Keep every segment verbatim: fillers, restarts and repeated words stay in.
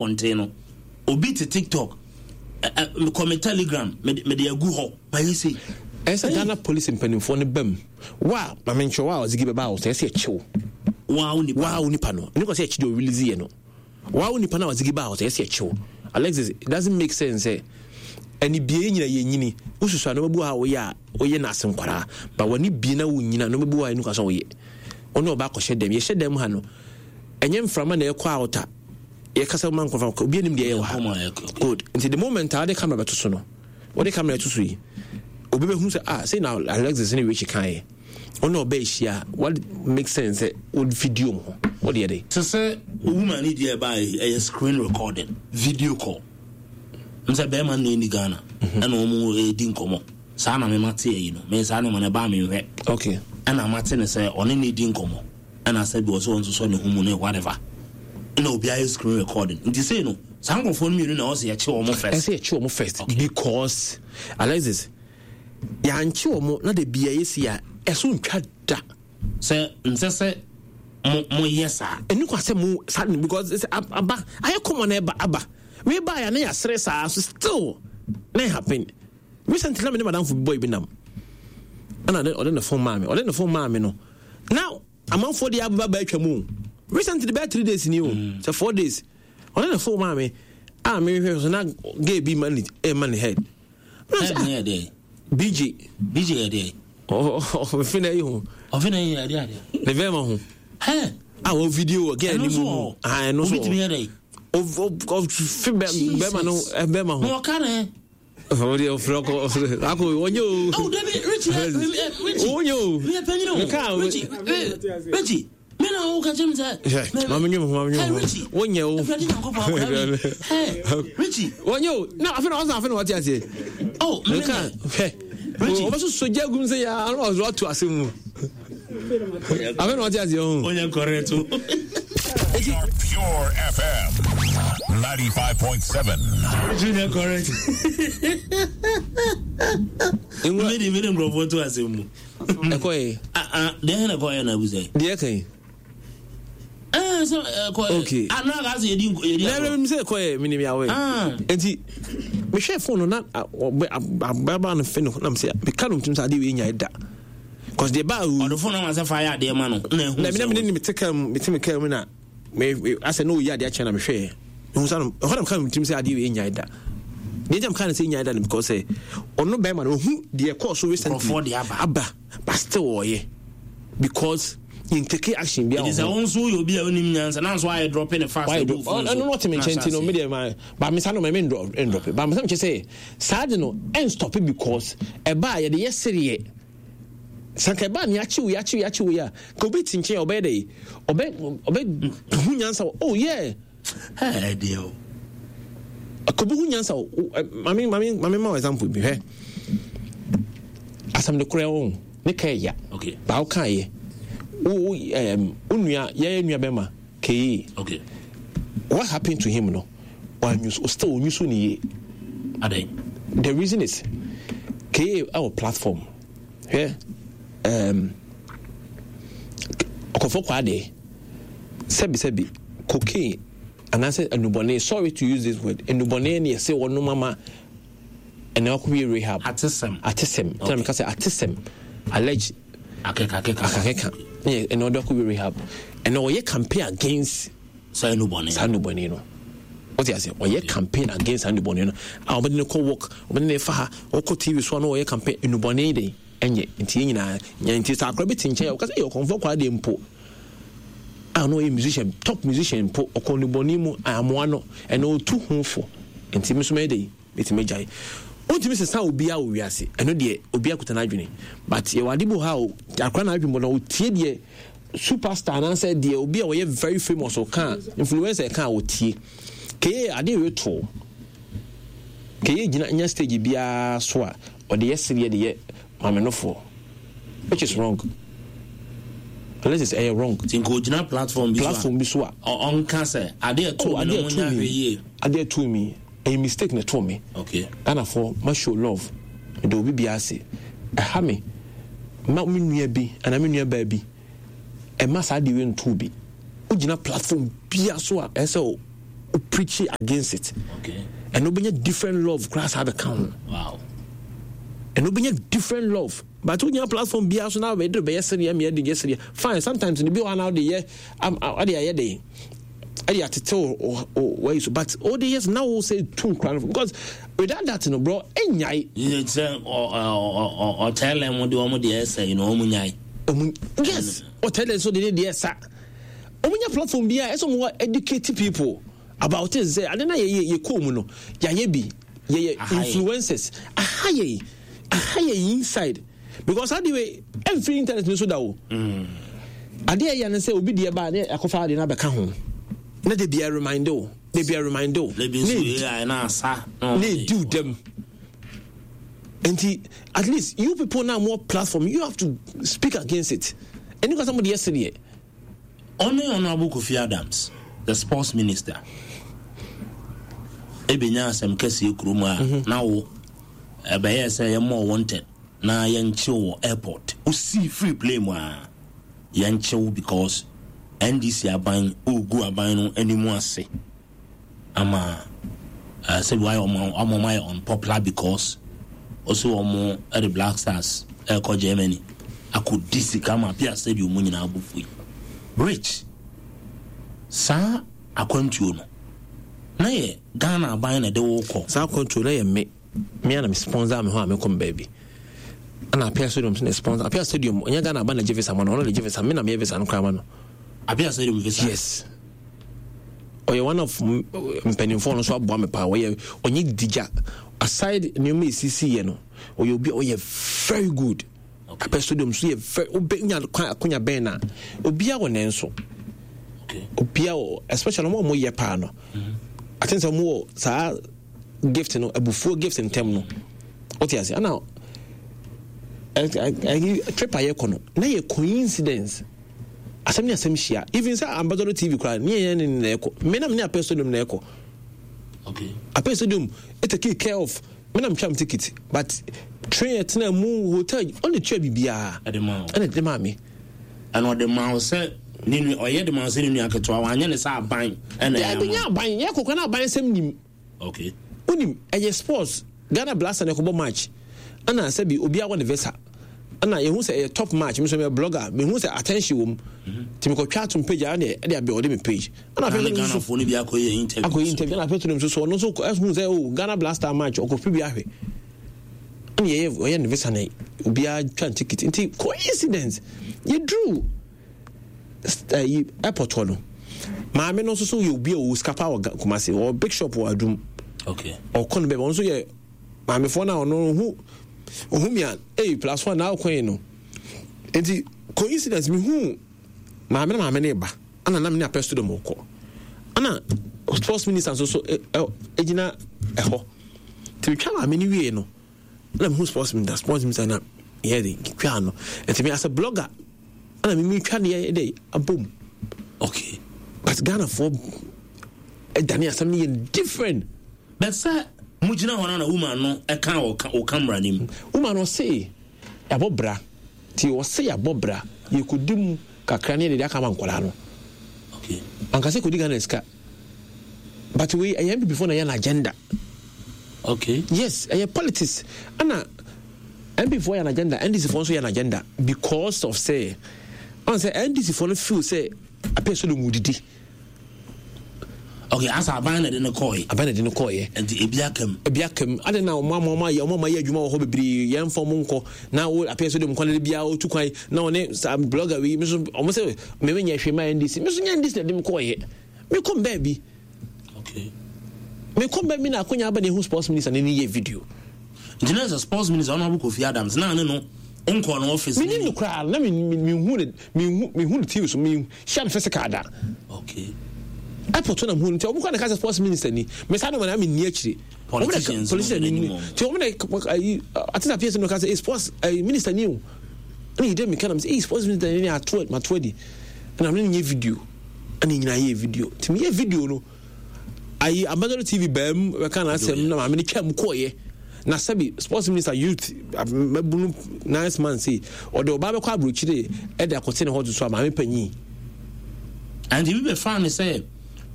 Abɔnten no, obi te TikTok, mekɔ me Telegram, mede agu hɔ, mayɛ sei. Ɛsɛ Ghana Police mpanimfoɔ no bam wa maame nkyerɛ wa a ɔdze gi bɛba a ɔsɛ ɛsɛ ɛkyew wa wo nipa wa wo nipa no ne kɔ sɛ ɛkyi deɛ ɔrelease yɛ no wa wo nipa no a ɔdze gi ba a ɔsɛ ɛsɛ ɛkyew. Alexis, it doesn't make sense sɛ ɛne bie nyina yɛ nyini wosusu a nneɛma bi wɔ ha a woyɛ a woyɛ no ase nkwaraa ba w'ani bie na wonyina nneɛma bi wɔ ha ɛnu ka sɛ woyɛ ɔne ɔba akɔhyɛ dɛm yɛhyɛ dɛm ha no, ɛnyɛ mframa na ɛkɔ out a yɛkasa ma nkɔfa obi anim deɛ ɛyɛ wɔ ha. Good, nti the moment a wode camera bɛto so no, wode camera to so yi, obi bɛhu sɛ, ah, sei na Alexis ne Richie kaeɛ, ɔne ɔbɛ ahyia. What make sense sɛ wo video mu ho wode yɛ de Sɛ sɛ woman ne deɛ ɛbaa, ɛyɛ screen recording, video call m sɛ bɛrima no na ɛni Ghana ɛna ɔmo ɛdi nkɔmmɔ saa na mema te ayi no me saa ne ma no ɛbaa menhwɛ. Okay ɛna mate ne sɛ ɔne ne di nkɔmmɔ ɛna sɛ bi wɔ sɛ ɔnso sɔ ne ho mu ne whatever, ɛna obi ayɛ screen recording. Nti sei no, saa nkurɔfoɔ no mmienu na ɛwɔ sɛ yɛkye wɔn first. Ɛsɛ yɛkye wɔn first because Alexis, yɛankye wɔn na de bia yɛsi a ɛso ntwa da. Sɛ nsɛ sɛ mo moyɛ saa. Ɛnu kɔ sɛ mo saa because sɛ aba ayɛ kɔmɔ na ɛba aba wei ba yɛ ne yɛasere saa so still na happen. Recently na me ne madamfo boy bi nam ɛna ɔde ne phone maa me ɔde ne phone maa me no na amanfoɔ de aba ba atwa mu recently, bɛyɛ three days ni o mm. sɛ four days. Ɔde ne phone maa me a mehwɛ so na gay bi ma ne ɛma ne head. Head ne yɛ dɛ? B J. B J yɛ dɛ? Ɔfe na ɛyi ho. Ɔfe na ɛyi yɛ dɛ adeɛ? Ne bɛrima ho a wɔ video wɔ gay anim mu. Ɛno so obi tumi yɛ dɛ? Ɔfe bɛrima no bɛrima ho. Na ɔka ne ɔde ɔfrɛ ɔkɔ akɔ ɔnyɛ o. Ɔwɔ dabi, Richie, Richie. Ɔnyɛ o. Mi yɛ panyin o. Richie, Richie, mi na o ka kyerɛ mi sɛ. Maame nyɛ mu, maame nyɛ mu, wonyɛ o. Ɛfɛ di nyankopɔn akɔla mi hɛ, Richie. Wɔnyɛ o na afei na ɔsan afei na wɔte aseɛ. Ɔ mi nka hwɛ. Richie, ɔbɛ soso gya gum sɛ yaa na ɔzɔ ato ase mu, afei na wɔte aseɛ o. Ɔnyɛ correct o. Pure F M ninety-five point seven. Richie nyɛ correct. Mi di mi di nkurɔfoɔ to ase mu. Ɛkɔ yɛ. Ah ah, deɛ hɛn ɛkɔ yɛ na ebu sɛ. Deɛ kan yi. Ɛɛ, sɛ ɛkɔ yɛ. Okay. Ah, na aka sɛ yɛdi yɛdi. Na ɛbɛ mi sɛ ɛkɔ yɛ mi ni mi awɔ yɛ. Nti mehwɛ phone no na ɔbɛ ababa no fɛ no nam sɛ meka no ntum sɛ adeɛ wei nya da cause deɛ baa. Ɔde phone ama sɛ fa yɛ adeɛ ma no na ehu. Na mi na mi ne ne mi te kaa mu, mi te mi kaa mu na me asɛ na oyi adeɛ akyɛn na mehwɛ yɛ ehu sa no ɛhɔ na meka no ntum sɛ adeɛ wei nya da. Deɛ nkyɛn meka no sɛ nya da no because sɛ ɔno bɛrima no ohu deɛ ɛkɔɔ so recently. Nkurɔfoɔ de aba. Aba, but still ɔyɛ because yɛn take action bi a Ɛdi sɛ wɔn nso yɛ obi a onim nyansa na nso ayɛ drop ne fast. Wayɛ drop, ɔno no ɔte me nkyɛn ti no mi deɛ ma ba mi sa no ma mi ndrop ndrop ba mi sa mi kyɛ sɛ saa de no ɛn stop because ɛba a yɛde yɛ sereɛ sanka ɛba ni akyiw akyiw akyiw yi a ka obi ti nkyɛn ɔbɛyɛ dɛ ɔbɛ ɔbɛ hu nyansa wɔ, oh yeah. Ɛɛ deɛ o. Ka obi hu nyansa wɔ maame maame maame ma example bi. Hwɛ, asɛm de korɛ wɔn ne ka ɛya. Okay. Baawo kan yɛ wo wo ɛɛm wo nua, yɛyɛ nua bɛma kee. Okay. What happened to him no, ɔanyusu, still onyusu ne yie. Adan. The reason is kee ɛwɔ platform, hwɛ, ɛɛm ɔkɔfɔ kɔ adeɛ sɛbi sɛbi cocaine anaasɛ enubɔne, sorry to use this word, enubɔne ne yɛsɛ wɔnom ama ɛna wakɔ rehab. Atesɛm. Atesɛm tɛnɛ mi ka sɛ atesɛm, allege. Akeka akeka. Akakeka ne ɛna ɔde akɔ rehab, ɛna ɔyɛ campaign against saa enubɔne. Saa enubɔne no, wɔte ase, ɔyɛ campaign against saa enubɔne no a ɔbɛde ne kɔ work, ɔbɛde ne fa ha, ɔkɔ T V so a na ɔyɛ campaign enubɔne de ɛnyɛ. Nti yɛn nyinaa nyɛ nti sɛ akora bi te nkyɛn a ɔka sɛ ɛyɛ ɔkɔnfɔ kɔ adeɛ mpo a na ɔyɛ musician, top musician mpo, ɔkɔ enubɔne mu amoa no ɛna ɔtu ho fo. Nti mi nso mɛyɛ de mɛtumi agyae. Wontumi sesa obiara wɔ wiase, ɛno deɛ obiara kuta n'adwene, but yɛwɔ ade bi wɔ ha a akora n'adwene bɔ na otie deɛ superstar anaasɛ deɛ obi a ɔyɛ very famous ɔka, influencer ɛka a otie. Keye ade yɛ to keye gyina nya stage biara so a ɔde yɛ sereɛ de yɛ maamenofoɔ, which is wrong. Unless it's ɛyɛ wrong. Nti nka ogyina platform bi so a. Platform bi so a. Ɔnka sɛ adeɛ ɛto mi na mo nya ahwɛ yie. Adeɛ ɛto mi, ɛyɛ mistake na ɛto mi. Okay. Ghanafoɔ ma show love, mede obi bi ase ɛha me ma me nua bi anaa me nua baa bi ɛma saa adeɛ wei nto bi. Wogyina platform bia so a ɛsɛ sɛ wo Preach against it. Okay. And wobɛnya different love koraa saa bɛka ho. Wow. And wobɛnya different love. But wonya platform biara so na wobɛde bɛyɛ sereɛ meɛ de yɛ sereɛ. Fine, sometimes no bi wɔ hɔ na wode yɛ wode ayɛ den ɛde atete wayi so, but wode yɛ na wo sɛ tu nkora no, because without that no, bro, ɛnyae. Sɛ ɔtɛlɛ mo de ɔmo deɛ ɛsɛ yi na ɔmo nyae. Yes, ɔtɛlɛ nso de ne deɛ ɛsa. Ɔmo nya platform biara ɛsɛ ɔmo wɔ educate people about it sɛ ade na yɛ yɛ kɔɔ mu no, yɛayɛ bi, yɛyɛ influencers, aha yɛ aha yɛ inside, because ade wei ɛmfiri internet no so da o. Adeɛ ɛyɛ no sɛ obi deɛ ba ne akɔfa adeɛ no abɛka ho na de bia remind o, de bia remind o, ne ne di dɛm. Nti at least you people now more platform, you have to speak against it. Ɛni kwasa mo de yɛ sedeɛ. Ɔne Honorable Kofi Adams, the sports minister, ebenya asɛm kɛseɛ kurom a na wo ɛbɛyɛ sɛ yɛmmɔ wanted na yɛnkyew wɔ airport. Osii free plane mu a yɛnkyew because N D C aban ogu aban no anim ase ama uh, sɛbi wayɛ ɔmo ama ɔmo ayɛ unpopular because ɔsɛ ɔmo ɛde Black Stars ɛkɔ Germany akɔdi sika ma Appiah Stadium mu nyinaa bɔ fui. Rich, saa akwantuo no na yɛ Ghana aban na ɛde wo kɔ? Saa akwantuo na yɛ me me ana me sponsor me ho a mekɔ me baabi, ɛna Appiah Stadium so na sponsor. Appiah Stadium, ɔnyɛ Ghana aban na gye visa ma no, ɔno na gye visa, me na meyɛ visa no koraa ma no. Appiah Stadium visa? Yes, ɔyɛ one of mpanimfoɔ no nso aboa me paa. Ɔyɛ ɔnyɛ digya aside nneɛma esisi yɛ no, ɔyɛ obi a ɔyɛ very good. Appiah Stadium so yɛ very wobɛ nya kwan akonya bɛn na obiara wɔ ne nso, obiara wɔ, especially wɔn a wɔyɛ paa no. I think sɛ wɔn wɔ saa gift no, abufuo gift ntɛm no, wote ase. Ɛna ɛyi trip a yɛkɔ no na yɛ coincidence, asɛm ne asɛm hyia. Even sɛ Ambassador T V koraa ne yɛn ne na ɛkɔ, me nam ne Appiah Stadium na ɛkɔ. Okay. Appiah Stadium take care of me nam twam ticket, but train ɛtena mu, hotel, ɔne tua biribiara. Ɛde ma wo? Ɛna ɛde maa me. Ɛna ɔde ma wo sɛ ne nua, ɔyɛ de ma wo sɛ ne nua ketewa, wanyɛ ne sɛ aban ɛna ɛyɛ ɛbi nyɛ aban yɛ kɔkɔ na aban nsɛm nim. Okay. Wonim, ɛyɛ sports, Ghana Blaster na ɛkɔbɔ match, ɛna sɛbi obiara wɔ ne visa, ɛna yɛhu sɛ ɛyɛ top match. Mi nso mɛ blogger, mehu sɛ attention wɔ mu, nti mekɔtwa atom page a ɛna ɛde abɛ ɔde me page, ɛna afei na Ghanafoɔ no bi akɔyɛ interview. Akɔyɛ interview, ɛna afei nso so ɔno nso ɛhu sɛ, oh, Ghana Blaster match, ɔkɔfi bi ahwɛ, ɛna yɛyɛ ɔyɛ ne visa na obiara twa ticket. Nti coincidence, yɛduru ɛyi airport hɔ no, maame no nso so yɛ obi a ɔwɔ sika paa wɔ Kumasi, ɔwɔ big shop wɔ Adum. Okay. Ɔkɔ no baabi, ɔno nso yɛ maamefoɔ no a ɔno ɔhu ɔhu mi a, ɛyi plus one na ɔkɔ yi no. Nti coincidence, mi hu maame na maame no ba, ɛna nam ne Appiah Stadium kɔ, ɛna sports minister nso so ɛ ɛ egyina ɛhɔ. Nti metwa maame no wie no na mehu sports minister sports minister na yɛ de twa no. Nti me as a blogger, ɛna me mi twa deɛ de abom. Okay. But Ghanafoɔ ɛdane asɛm no yɛ different. But sɛ mogyina hɔ no na woman no ɛka wɔ wɔ camera no mu. Woman no ɔse yɛabɔ bra, nti ɔse yɛabɔ bra, yɛkɔdi mu kakra ne yɛde aka ma nkwadaa no. Okay. Ankasa kɔdi Ghana sika, but wei ɛyɛ N P P foɔ na ɛyɛ no agenda. Okay. Yes, ɛyɛ politics, ɛna N P P foɔ yɛ an agenda, N D C foɔ nso yɛ an agenda, because of sɛ ɔn sɛ N D C foɔ no feel sɛ Appiah Stadium mu didi. Okay, asa aban na de ne kɔɛ. Aban na de ne kɔɔyɛ. Nti ebi aka mu. Ebi aka mu ade na ɔmo ama ɔmo ayɛ ɔmo ama ayɛ adwuma wɔ hɔ bebree, yɛn fɔ ɔmo nkɔ na wo Appiah Stadium kwan de biara otu kwan na ɔne saa blogger wi mi so, ɔmo sɛ mɛmɛ nyɛ hwee ma N D C, mi so nyɛ N D C na de mi kɔɔyɛ, mi kɔ mbɛɛ Okay. Mi kɔ mbɛɛ mi na akonya aba na ehu sports minister ne ne yɛ video. Nti na sɛ sports minister, Honorable Kofi Adams, na ne no nkɔ no office? Mi nim no koraa na mi mi mi hu ne mi hu mi hu ne T V so, mi hyia no physical da. Okay. Airport na mu hu nti ɔmo kɔ na ka sɛ sports minister ni, mɛ saa de wɔn na mi ni akyire. Politicians. Politician ni nti ɔmo na ayi ate na P S no ka sɛ, eh, sports ayi minister ni o, ɛna yi dɛ mi ka na mi sɛ, eh, sports minister ni ato ma to adi, ɛna mi ne nyɛ video, ɛna nyinaa yɛ video. Nti mi yɛ video no, ayi Ambassador T V bɛn bɛka na asɛm na maame ne twɛ mu kɔɔyɛ na sɛbi sports minister, youth mɛbunu, nice man, say ɔde ɔbaa bɛkɔ aburokyire ɛde akɔte ne hɔ to so a maame panyin. And ebi bɛfa ne sɛ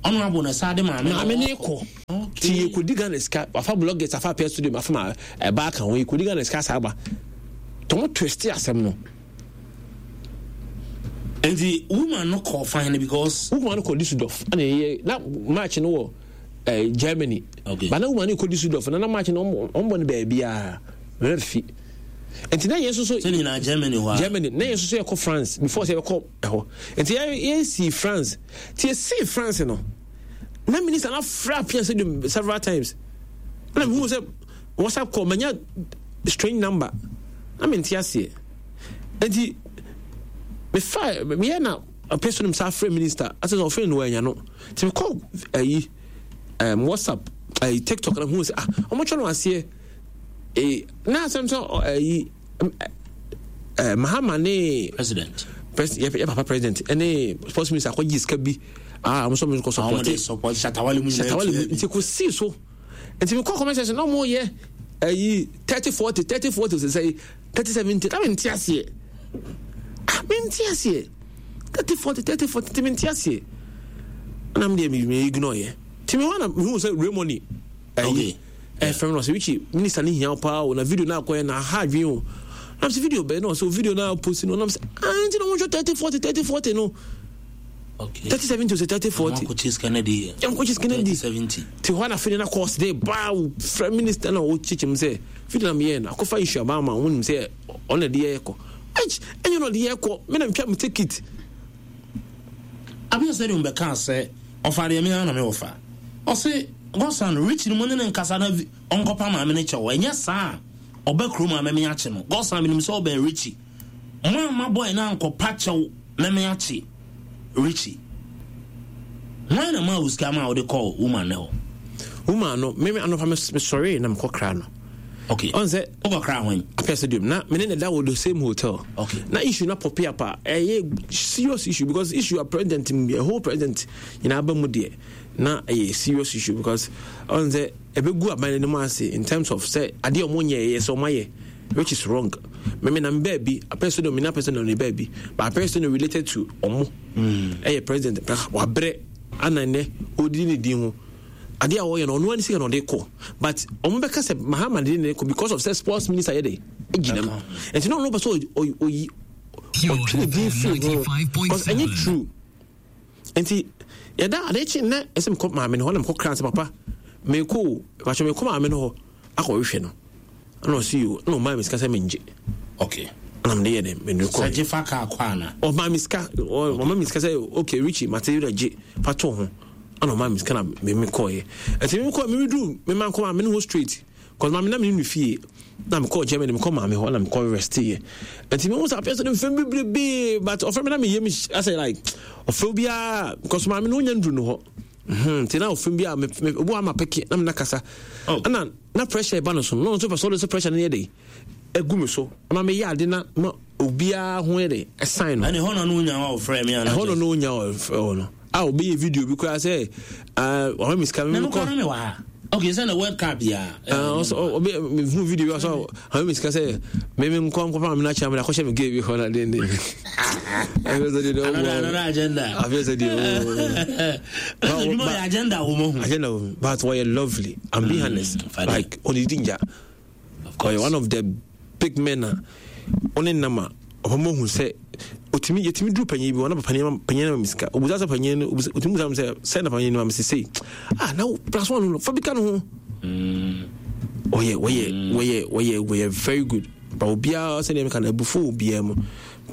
Honorable na saa de maame maame ne kɔ. Ti yɛkɔdi Ghana sika, wafa bloggers, afa Apia Studio, afa ma ɛba aka ho, yɛkɔdi Ghana sika saa ba. Tɔmo twist asɛm no. Nti woman no kɔ fine no because woman no kɔ Düsseldorf, ɛna yɛ na match no wɔ eh, Germany. Okay. Ba na woman no kɔ Düsseldorf na na match no ɔmo bɔ no baabiara refi. Nti na yɛn nso so sɛ nyinaa Germany hɔ a Germany na yɛn nso so yɛkɔ France before sɛ yɛbɛkɔ ɛhɔ. Nti yɛ yɛsi France. Nti yɛsi France no na minister na frɛ Apia Stadium several times. Na mehu sɛ WhatsApp call manya strange number na mente aseɛ. Nti mefa meyɛ na Apia Stadium saa frɛ minister asɛ sɛ ɔfrɛ no wanya no. Nti mekɔ ayi um, WhatsApp ayi TikTok na mehu sɛ ah ɔmotwɛ no aseɛ. Eh, na asɛm sɛ ayi eh, Mahama ne president pres yɛ yɛ papa president ɛne sports minister akɔgye sika bi a wɔn nso wɔn kɔ support support Shatawale mu nyinaa Shatawale mu nti kò sii so nti mi kɔ comment section na wɔn yɛ ayi thirty forty thirty forty sɛ sɛ thirty seventy na mi nti aseɛ ah mi nti aseɛ thirty forty thirty forty nti mi nti aseɛ ɛna mi deɛ mi mi ignore yɛ ti mi hɔ na mi hu sɛ Raymond ayi ɛfɛm no ɔsɛ Richie minister ne hia paa o na video na akɔyɛ na aha adwene o na sɛ video bɛyɛ na ɔsɛ video na post no na sɛ ah nti na wɔn hwɛ thirty forty thirty forty no okay thirty seventy ɔsɛ thirty forty wɔn akɔkye sika no di wɔn akɔkye sika no di seventy ti hɔ na afei na course de baa frɛ minister na ɔkyekyɛ mu sɛ video na meyɛ no akɔfa issue aba ama wɔn nim sɛ ɔna de yɛ kɔ ɛnyɛ na ɔde yɛ kɔ me na metwa me ticket. Abia sɛ de mbɛka sɛ ɔfa deɛ me ara na me wɔfa ɔse Godson Rich no mu ne ne nkasa na ɔnkɔpa maame ne kyɛw ɛnyɛ saa ɔbɛ kurom a mɛme akye no. Godson menim sɛ ɔbɛn Richie mo amma boy no ankɔpa kyɛw mɛme akye Richie. Hwan na maa wo sika ma wode kɔɔ woman ne hɔ? Woman no meme anɔpa mesɔree na mekɔ kra no. Okay. Ɔn sɛ wokɔ kra hwan? Apia Stadium na mene ne da wɔ the same hotel. Okay. Na issue na pop up a ɛyɛ serious issue because issue a president a whole president nyinaa ba mu deɛ na ɛyɛ serious issue because ɔn sɛ ɛbɛgu aban no mu ase in terms of sɛ adeɛ ɔmo nyɛ ɛyɛ sɛ ɔmo ayɛ, which is wrong. Meme na mbaa bi Apia Stadium mene Apia Stadium ne baa bi but Apia Stadium related to ɔmo ɛyɛ president wabrɛ ana nnɛ ɔdidi ne din ho adeɛ a ɔyɛ no ɔno ani sika na ɔde kɔ but ɔmo bɛka sɛ Mahama de ne kɔ because of sɛ sports minister yɛ de gyina mu nti na ɔno pɛ sɛ ɔyi ɔtwe ne din firi ho because ɛnyɛ true. Nti yɛda ade kye nnɛ ɛsɛ mekɔ maame no hɔ na mekɔ kra sɛ papa mekɔ o bàtɛ mekɔ maame no hɔ akɔhwehwɛ no ɛna ɔsi yi o ɛna ɔmaa mi sika sɛ mengye. Okay. Ɛna mede yɛ dɛ mede kɔ. Sɛ gye fa kaa kɔ ana? Ɔmaa mi sika ɔmaa mi sika sɛ okay Richie mate yi dɛ gye fa to ho ɛna ɔmaa mi sika na me me kɔɔ yɛ ɛti me kɔ me duru me ma nkɔ maame no hɔ straight cause maame na me ne no fie na me kɔɔ Germany me kɔ maame hɔ na me kɔ rest yɛ ɛti me ho sɛ afei sɛ ne mfɛn bebrebe but ɔfrɛ me na me yɛ me asɛ like ɔfrɛ biara cause maame no onya nduru no hɔ nti na ɔfrɛ biara me me obu ama peke na me na kasa ɛna na pressure ba no so no nso pɛ sɛ ɔde sɛ pressure no yɛ de egu me so ama me yɛ ade na ma obiara ho yɛ de ɛsan no ɛne hɔ na no onya wa ɔfrɛ me ana ɛhɔ na no onya ɔfrɛ hɔ no a obi yɛ video bi koraa sɛ ɔhɔ mi sika mi kɔ na me wɔ ha okay sɛ na World Cup ya ɔsɔ obi mi hu video bi ɔsɔ ɔhɔ mi sika sɛ mi mi nkɔ nkɔ pa mi na kyerɛ mi na kɔhyɛ mi gay bi hɔ na den den afei sɛ de another another agenda afei sɛ de ooo adwuma yɛ agenda wɔ mo ho agenda wɔ mo but wɔyɛ lovely I'm being honest like ɔnidi ngya ɔyɛ one of the big men a ɔne nam a ɔmo hu sɛ otumi yɛtumi duru panyin bi wɔn na panyin panyin na misika obusa sɛ panyin no obusa otumi busa sɛ sɛ na panyin no ma mesi sei ah na plus one no fa bi ka no ho ɔyɛ wɔyɛ wɔyɛ wɔyɛ wɔyɛ very good but obiara sɛ nea meka no abufuo obiara mu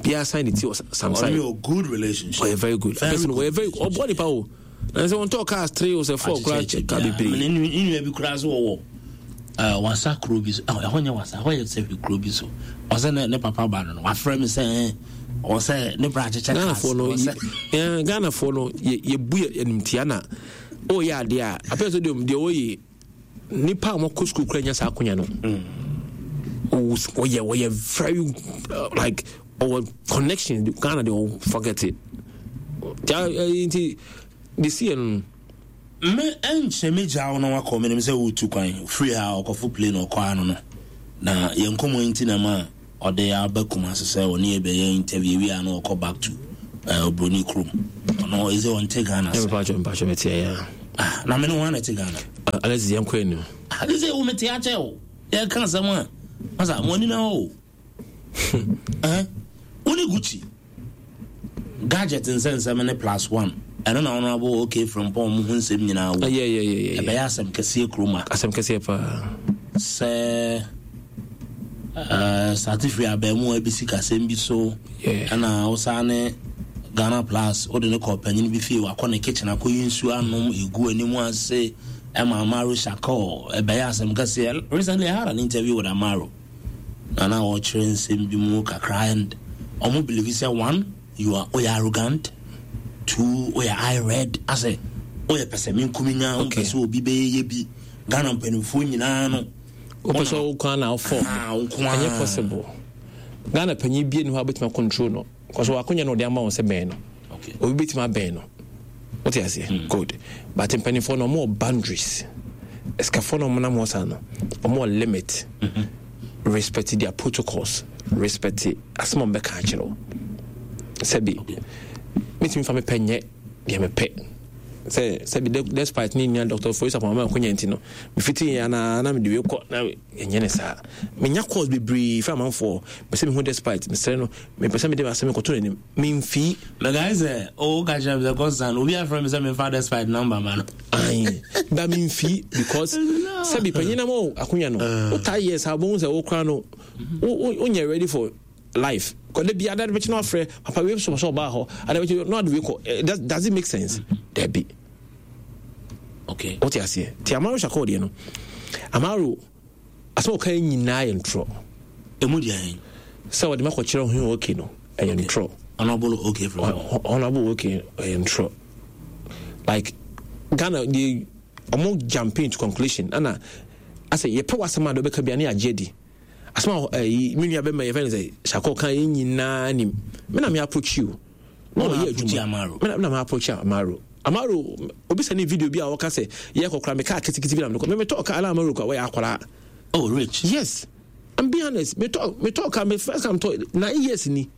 biara sign ne ti wɔ samsung ɔyɛ good relationship ɔyɛ very good Very person ɔyɛ very ɔbɔ nipa o na sɛ wɔn tɔ cars three o sɛ four koraa ka bebree ne nua bi koraa so wɔwɔ wasa kuro bi so ɛhɔ nyɛ wasa ɛhɔ yɛ sɛ kuro bi so ɔsɛ ne ne papa ba no no wafrɛ mi sɛ ɔsɛ ne bra akyekyɛ cars Ghanafoɔ no yɛ Ghanafoɔ no yɛ yɛbu yɛ animtia na ɔyɛ adeɛ a apɛ sɛ deɛ deɛ ɔyɛ nipa a wɔkɔ sukuu kura nya saa akonya no ɔyɛ ɔyɛ very uh, like ɔwɔ connection Ghana de ɔ forget it nti de si yɛ no. Me ɛnkyɛ me gya wo na wakɔ menim sɛ wotu kwan firi ha ɔkɔfo plane ɔkɔ ano no na yɛn nkɔmmɔ nti na ma ɔde aba Kumase sɛ ɔne yɛ bɛyɛ interview wie a na ɔkɔ back to obroni kurom ɔno No, ɛsɛ ɔnte Ghana sɛ. Mpatwɔ mpatwɔ mete ɛyɛ. Ah, na mene wɔn na ɛte Ghana. Alex yɛn kɔ anim. Ah, ɛsɛ wo mete akyɛ o. Yɛka asɛm a masa mo ani na hɔ o. Eh, wo ne Gucci gadget nsɛnsɛm ne plus one ɛno na honorable okay Frimpong mo ho nsɛm nyinaa wo. Ɛbɛyɛ asɛm kɛseɛ kurom a. Asɛm kɛseɛ paa. Sɛ uh, starte firi abaamu a bɛsi kasɛm bi so ɛna wosaa ne Ghana Plus wode ne kɔ panyin bi fie wakɔ ne kitchen akɔyi nsuo anom ɛgu anim ase ɛma Amaro Shako ɛbɛyɛ asɛm kɛseɛ. Recently I had an interview with Amaro na na ɔkyerɛ nsɛm bi mu kakra and ɔmo believe sɛ one, you are oyɛ arrogant, two, oyɛ eye red asɛ oyɛ pɛ sɛ menkumi nya wompɛ sɛ obi bɛyɛ bi Ghana mpanimfoɔ nyinaa no wopɛ sɛ wo kwan na wofɔ ɛnyɛ possible. Ghana panyin bie ni hɔ a wobɛtumi control no kɔsɛ wakonya no ɔde ama wo sɛ bɛn no obi bɛtumi abɛn no wote aseɛ. Good, but mpanimfoɔ no ɔmo wɔ boundaries. Ɛsikafoɔ no ɔmo nam hɔ saa no ɔmo wɔ limit. Respect their protocols, respect asɛm a ɔmo bɛka akyerɛ wo. Sɛbi metumi fa mepɛ nyɛ deɛ mepɛ sɛ sɛbi despite ne nua Doctor Foyisa Pɔmama akonya nti no mefiti yɛ anaa na mede wei kɔ na ɛnyɛ ne saa. Menya calls bebree fɛ amanfoɔ pɛ sɛ mehu despite mesrɛ no mepɛ sɛ mede asɛm kɔto n'anim memfii. Mɛkae sɛ o ka kyerɛ me sɛ Constant obi afrɛ me sɛ memfa despite number ma no. Ayi ba memfii because sɛbi panyin na ma akonya no wotaa yɛ saa wobɛhu sɛ wokora no wonyɛ ready for life. Kɔde bi ada bɛkyɛ no afrɛ papa wei so sɛ ɔbaa hɔ ada bɛkyɛ no ade wei kɔ. Does it make sense? Dabi. Okay. Wote aseɛ. Nti Amaro Shako deɛ no Amaro asɛm ɔka nyinaa yɛ ntorɔ. Ɛmu deɛ sɛ wɔde makɔkyerɛ ho okay no ɛyɛ ntorɔ. Honorable okay from Honorable okay ɛyɛ ntorɔ. Like Ghana deɛ ɔmo jumping to conclusion ɛna asɛ yɛpɛ w'asɛm a deɛ ɔbɛka bia ne yɛagye adi. Asɛm a ɛyi me nua bɛma yɛfɛ no sɛ Shako kan yɛn nyinaa nim. Me na me approach you. Na ɔyɛ adwuma. Me na me approach Amaro. Amaro obi sɛ ne video bi a ɔka sɛ yɛ kɔkora me kaa kitikiti bi na me kɔ. Me me tɔ kaa na Amaro kɔ wɔyɛ akwaraa. Oh rich. Yes. I'm being honest. Me talk me talk me first time talk nine years ni.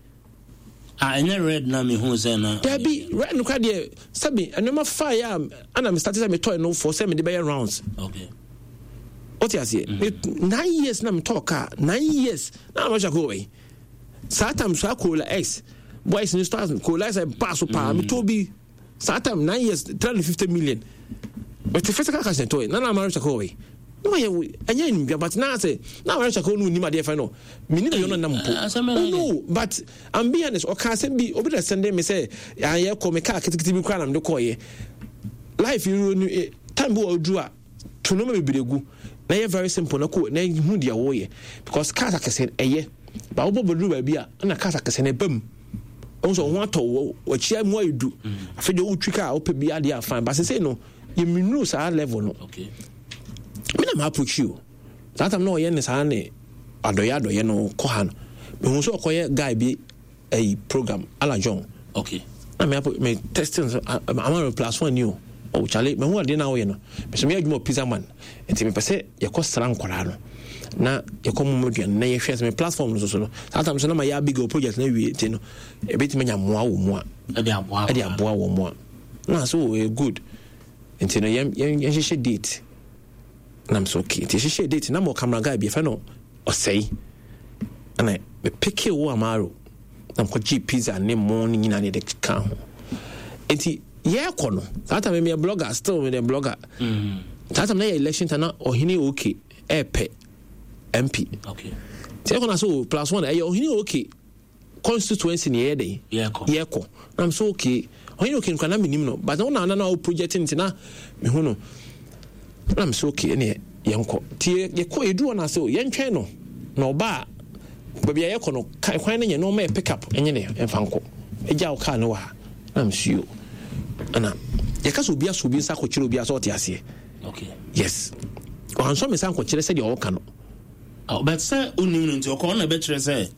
Ah, ɛnyɛ red na me hu sɛ na. Dabi red no kora deɛ sɛbi ɛnneɛma fa yɛ a ana me start sɛ me tɔ no for sɛ me de bɛyɛ rounds. Okay. Wote aseɛ. Mm. Nine years na me tɔ car nine years na ama hyɛ kɔ wei. Saa time saa Corolla X boys ni stars Corolla X ba so paa me tɔ bi saa time nine years three hundred fifty million. But physical cash na tɔ na na ama hyɛ kɔ wei. No yɛ ɛnyɛ ndwa but na sɛ na ama hyɛ kɔ no nim adeɛ fɛ no. Me nim yɛ no nam mpo. Oh no, but I'm being honest. Ɔka asɛm bi obi na send me sɛ ayɛ kɔ me car kitikiti bi kora na me de kɔ yɛ. Life you time bi wɔ duru a to no bebree gu na yɛ very simple na ko na hu deɛ wɔyɛ because cars akɛse ɛyɛ ba wobɔ bɛduru baabi a na cars akɛse na ɛba mu ɔhu sɛ ɔho atɔ wɔ wakyia mu ayɛ du afei deɛ wotwi car wopɛ bi adeɛ afan ba sesei no yɛmmenuru saa level no. Okay. Me na ma approach you saa time na ɔyɛ ne saa ne adɔyɛ adɔyɛ no kɔ ha no mehu sɛ ɔkɔyɛ guy bi ɛyi program Ala John. Okay. Na me apo me testing so ama me plus one ni o. Oh Charlie, me hu ade na woyɛ no. Me so me adwuma pizza man. Nti me pɛ sɛ yɛkɔ sra nkwaraa no. Na yɛkɔ mu aduane na yɛhwɛ sɛ me platform no so so no. Saa time so na ma yɛ Abigail project na wie nti no. Ebetumi anya mmoa wɔ mu a. Ɛde aboa. Ɛde aboa wɔ mu a. Na so oh, good. Nti no yɛn yɛn hyehyɛ date. Na me so okay. Nti hyehyɛ date na mo camera guy bi fɛ no ɔsɛe. Na me pick wo Amaro. Na mekɔgye pizza ne mo ne nyinaa ne de ka ho. Nti yɛkɔ no saa time meyɛ blogger still meyɛ blogger. Mm. Saa time na yɛ election time na ɔhene okay ɛɛpɛ M P. Okay. Nti yɛkɔ na so plus one ɛyɛ ɔhene okay constituency ne yɛyɛ dɛn? Yɛkɔ. Yɛkɔ. Na so okay ɔhene okay nkwa na menim no but na na na wo project nti na mehu no. Na so okay ne yɛnkɔ. Nti yɛkɔ yɛduru hɔ na so yɛntwɛn no na ɔba baabi a yɛkɔ no kwan no nyɛ no ɔma yɛ pick up ɛnyɛ ne ɛmfa nkɔ. Ɛgya wo car no wɔ ha. Na msuo. Ana yɛka sɛ obi aso obi nsa akɔkyerɛ obi asɛ ɔte aseɛ. Okay. Yes. Ɔhansɔ me nsa nkɔkyerɛ sɛdeɛ ɔka no. Oh, but sɛ onim no nti ɔkɔ ɔna bɛkyerɛ sɛ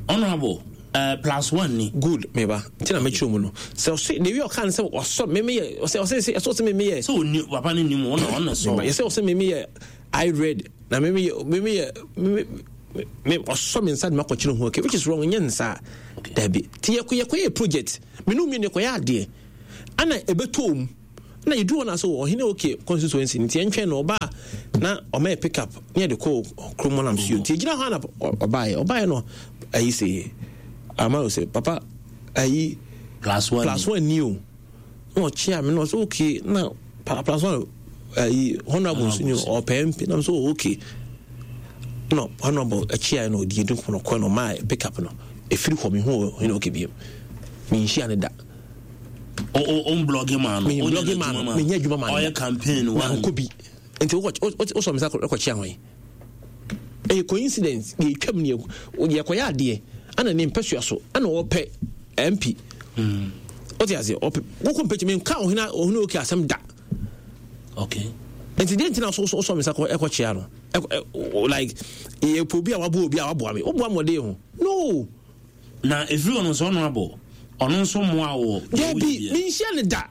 honorable uh, plus one ni. Good, meba. Nti na mɛkyerɛ mu no. Sɛ ɔse de wi ɔka no sɛ ɔsɔ me me yɛ ɔsɛ ɔsɛ sɛ ɔsɛ me me yɛ. Sɛ oni papa ne nim ɔna ɔna sɔ. Yɛ sɛ ɔsɛ me me yɛ I read na me me yɛ me me yɛ me me ɔsɔ me nsa de makɔkyerɛ ho okay which is wrong nyɛ nsa. Dabi. Ti yɛkɔ yɛkɔ yɛ project. Me no mi ne kɔ yɛ adeɛ. Ana ɛbɛtɔ mu na yɛduru hɔ no so ɔhene okay constituency nti yɛntwɛn no ɔbaa na ɔma yɛ pick up ne yɛde kɔ kurom hɔ nam so nti yɛgyina hɔ ana ɔbaeɛ ɔbaeɛ no ayi sɛ ama sɛ papa ayi plus one plus one ni o na ɔkyea me na ɔsɛ okay na plus one ayi honorable nso ni ɔpɛ mp na so okay no honorable akyia no ɔdi yɛdi nkɔmɔ kɔ no ɔma pick up no ɛfiri hɔ mehu ɔhene okay biom menhyia ne da o o blog ma no me blog ma no menyɛ adwuma ma no ɔyɛ campaign wa nkɔ bi nti wosɔ me sa kɔkyea hɔ yi ɛyɛ coincidence yɛtwam ne yɛkɔyɛ adeɛ ana ne mpɛsua so ana ɔpɛ M P wote aseɛ ɔpɛ wokɔ mpɛkyi menka ɔhene ɔhene okay asɛm da. Okay nti deɛ ntina so wosɔ me sa ɛkɔkyea no like yɛpɛ obi a waboa obi a waboa me woboa me ɔde ho no. Na ɛfiri ɔno nso ɔno abɔ ɔno nso mmoa wɔ Dabi, menhyia ne da.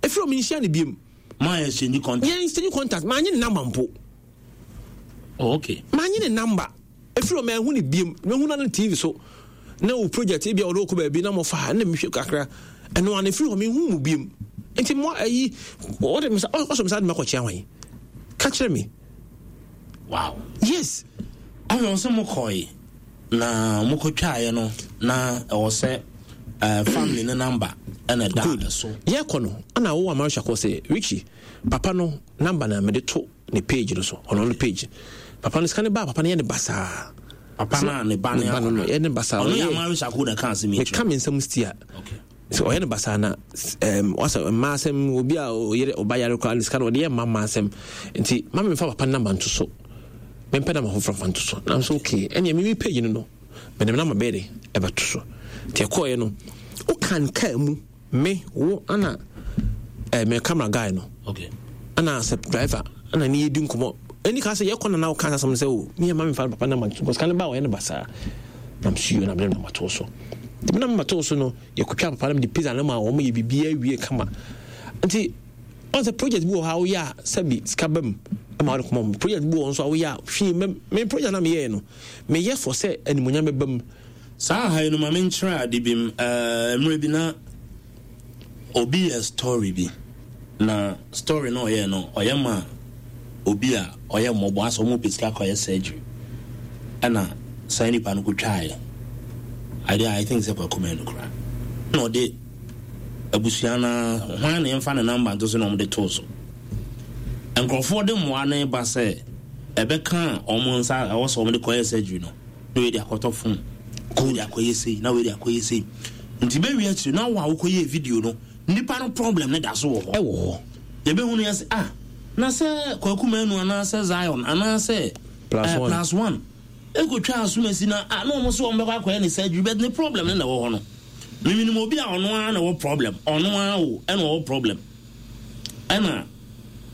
Ɛfiri ɔ menhyia ne biom. Ma yɛ exchange contact. Yɛn exchange contact, maanye ne number mpo. Oh, okay. Maanye ne number. Ɛfiri ɔ mahu ne biom. Mahu na no T V so na wo project ebi a wɔde wokɔ baabi na mɔfa ha na mehwɛ kakra ɛno ana ɛfiri hɔ mehu mu biom. Nti mo ayi wɔde me sa ɔsɔ me sa de makɔkyea hwan ka kyerɛ me? Wow. Yes. Afei ɔsɛ mo kɔe na mokɔtwaeɛ no na ɛwɔ sɛ uh, family ne number ɛna ɛda so. Yɛkɔ no ana wowɔ amaresha kɔ sɛ Richie papa no number na mede to ne page no so ɔno no page papa no sika ne ba papa no yɛ ne basaa. Papa no a ne ba ne ba no no yɛ ne basaa. Ɔno yɛ amaresha ko na ka asɛm yi. Meka me nsɛm sti a sɛ ɔyɛ ne basaa na um, wasɛ mmaa asɛm obi a ɔyere ɔba yare koraa ne sika no ɔde yɛ mma mmaa asɛm nti ma memfa papa no number nto so mempɛ nama foforɔ fa nto so nam so okay ɛneɛ meme page no no mede me nama bɛyɛ de ɛbɛto so nti ɛkɔɔyɛ no wokan kaa mu me wo ana eh, me camera guy no okay ana sɛ driver ana ne yɛdi nkɔmmɔ ɛni ka sɛ yɛkɔ nana woka asɛm sɛ o meyɛ ma memfa papa nama nto because ne ba ɔyɛ no basaa nam suo na mede nama too so nti menam ma too so no yɛkɔtwa papa no mede pizza no ma wɔn yɛ biribiaa wie kama nti ɔn sɛ project bi wɔ hɔ a woyɛ a sɛbi sika ba mu ma wode kɔma mu project bi wɔ hɔ nso a woyɛ a hwee mɛ me project na meyɛɛ no meyɛ fɔ sɛ animonyam bɛba mu. Saa ha yi no ma menkyerɛ ade bi m mmerɛ bi na obi yɛ story bi na story no ɔyɛ no ɔyɛ ma obi a ɔyɛ mmɔbɔ asɛ ɔmo pɛ sika kɔyɛ surgery ɛna saa nipa no kɔtwaeɛ I, I think sɛ Kwaku Manu koraa na ɔde abusua no hwan na yɛmfa ne number nto so na ɔmde too so nkurɔfoɔ de mmoa no ba sɛ ɛbɛka ɔmo nsa ɛwɔ sɛ ɔmo de kɔyɛ surgery no na wei de akɔtɔ phone na wei de akɔyɛ sei na wei de akɔyɛ sei nti bɛwie akyiri na wo a wokɔyɛ video no nipa no problem ne da so wɔ hɔ. Ɛwɔ hɔ. Yɛbɛhu no yɛ sɛ ah na sɛ Kwaku Manu anaasɛ Zion anaasɛ Plus eh, One. Plus One ɛkɔtwa asomasi na ah, na ɔmo so ɔmo bɛkɔ akɔyɛ ne surgery but ne problem ne na ɛwɔ hɔ no miminim obi a ɔno ara na ɛwɔ problem ɔno ara o ɛna ɔwɔ problem ɛna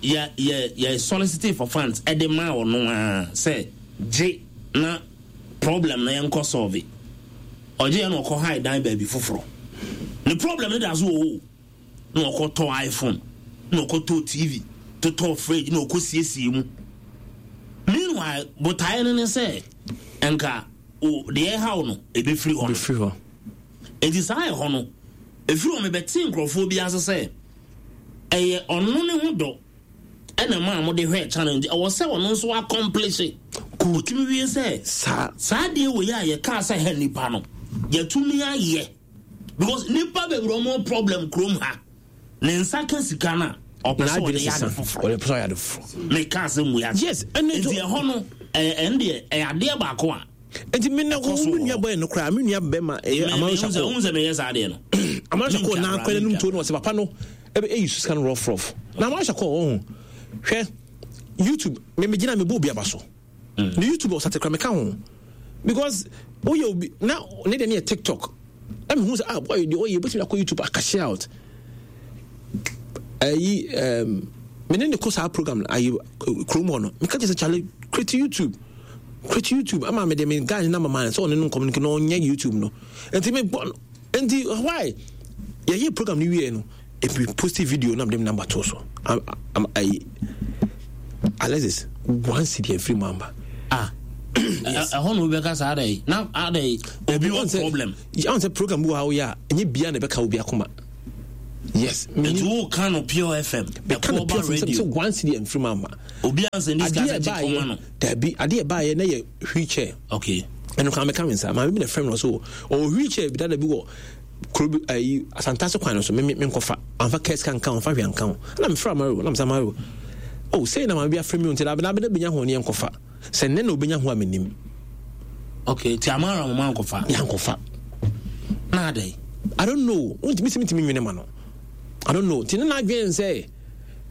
yɛ yɛ yɛ solicit for funds ɛde ma ɔno ara sɛ gye na problem na yɛnkɔ solve ɔgye yɛ na ɔkɔ high dan baabi foforɔ ne problem ne da so wɔ hɔ na ɔkɔtɔ iPhone na ɔkɔtɔ T V totɔ fridge na ɔkɔ siesie mu. Meanwhile botaeɛ no ne sɛ nka o deɛ ɛhaw no ebɛfiri hɔ no. Bɛfiri hɔ. Eti saa ɛhɔ no efiri hɔ mebɛte nkurɔfoɔ bi ase sɛ ɛyɛ ɔno ne ho dɔ ɛna maa mo de hwɛ channel nti ɛwɔ sɛ ɔno nso accomplish otumi wie sɛ saa saa deɛ wɔ yi a yɛkaa sɛ ha nipa no yɛtumi ayɛ because nipa bebree ɔmo problem kurom ha ne nsa ka sika no a ɔpɛ sɛ ɔde yɛ ade foforɔ. Ɔde pɛ sɛ ɔyɛ ade foforɔ. Meka sɛ mu yɛ Yes, ɛne nti ɛhɔ no ɛyɛ ɛn deɛ ɛyɛ adeɛ baako a nti me na Ɛkɔ so wo wɔ nua hɔ. bɔyɛ no koraa me nua bɛma ɛyɛ amaresha sɛ kɔ wohu sɛ meyɛ saa adeɛ no amaresha kɔ Mentwa na koraa, akɔ n'anum mentwa. tuo no ɔsɛ papa no ɛbɛ ɛyi su sika no rough rough na amaresha kɔ ɔho hwɛ YouTube me me gyina me bɔ obi aba so ne YouTube ɔsate kora meka ho because woyɛ obi na ne deɛ ne yɛ TikTok na mehu sɛ ah boy deɛ ɔyɛ obɛtumi akɔ YouTube acash out ayi um, me ne ne kɔ saa program ayi kurom hɔ no meka kyerɛ sɛ kyale create YouTube, create YouTube ama me de me guy ne number man sɛ ɔne no communicate na ɔnyɛ YouTube no nti me bɔ no nti why yɛyɛ program no wie no ebi post video na mede me number to so am am ayi Alexis one cedi afiri mu amba. Ah, ɛhɔ na wobɛka saa adɛ na adɛ obi wɔ problem. Ɔn sɛ program bi wɔ ha woyɛ a ɛnyɛ bia na ɛbɛka obi akoma. Yes. Nti wo ka no Pure F M. Meka no Pure F M sɛ one cedi amfiri mu ama. Obi ansa ni sika sɛ kɔma no. Dabi, adeɛ ɛbaayɛ na yɛ wheelchair. Okay. Ɛno kan meka me nsa. Maame bi na frɛ me no so ɔwɔ wheelchair bi dada bi wɔ kuro bi ayi Asantase kwan no so me me nkɔfa. Amfa kɛse ka nka ho, amfa hwee anka ho. Na mefrɛ Amaro, na mesa Amaro. Oh, sei na maame bi afrɛ me nti na abena abena benya ho ne yɛnkɔfa. Sɛ nnɛ na obenya ho a menim. Okay, ti Amaro mo ankɔfa. Yɛankɔfa. Na adɛn? I don't know. Wontumi sɛ mentumi nwene ma no. I don't know. Nti ne n'adwene sɛ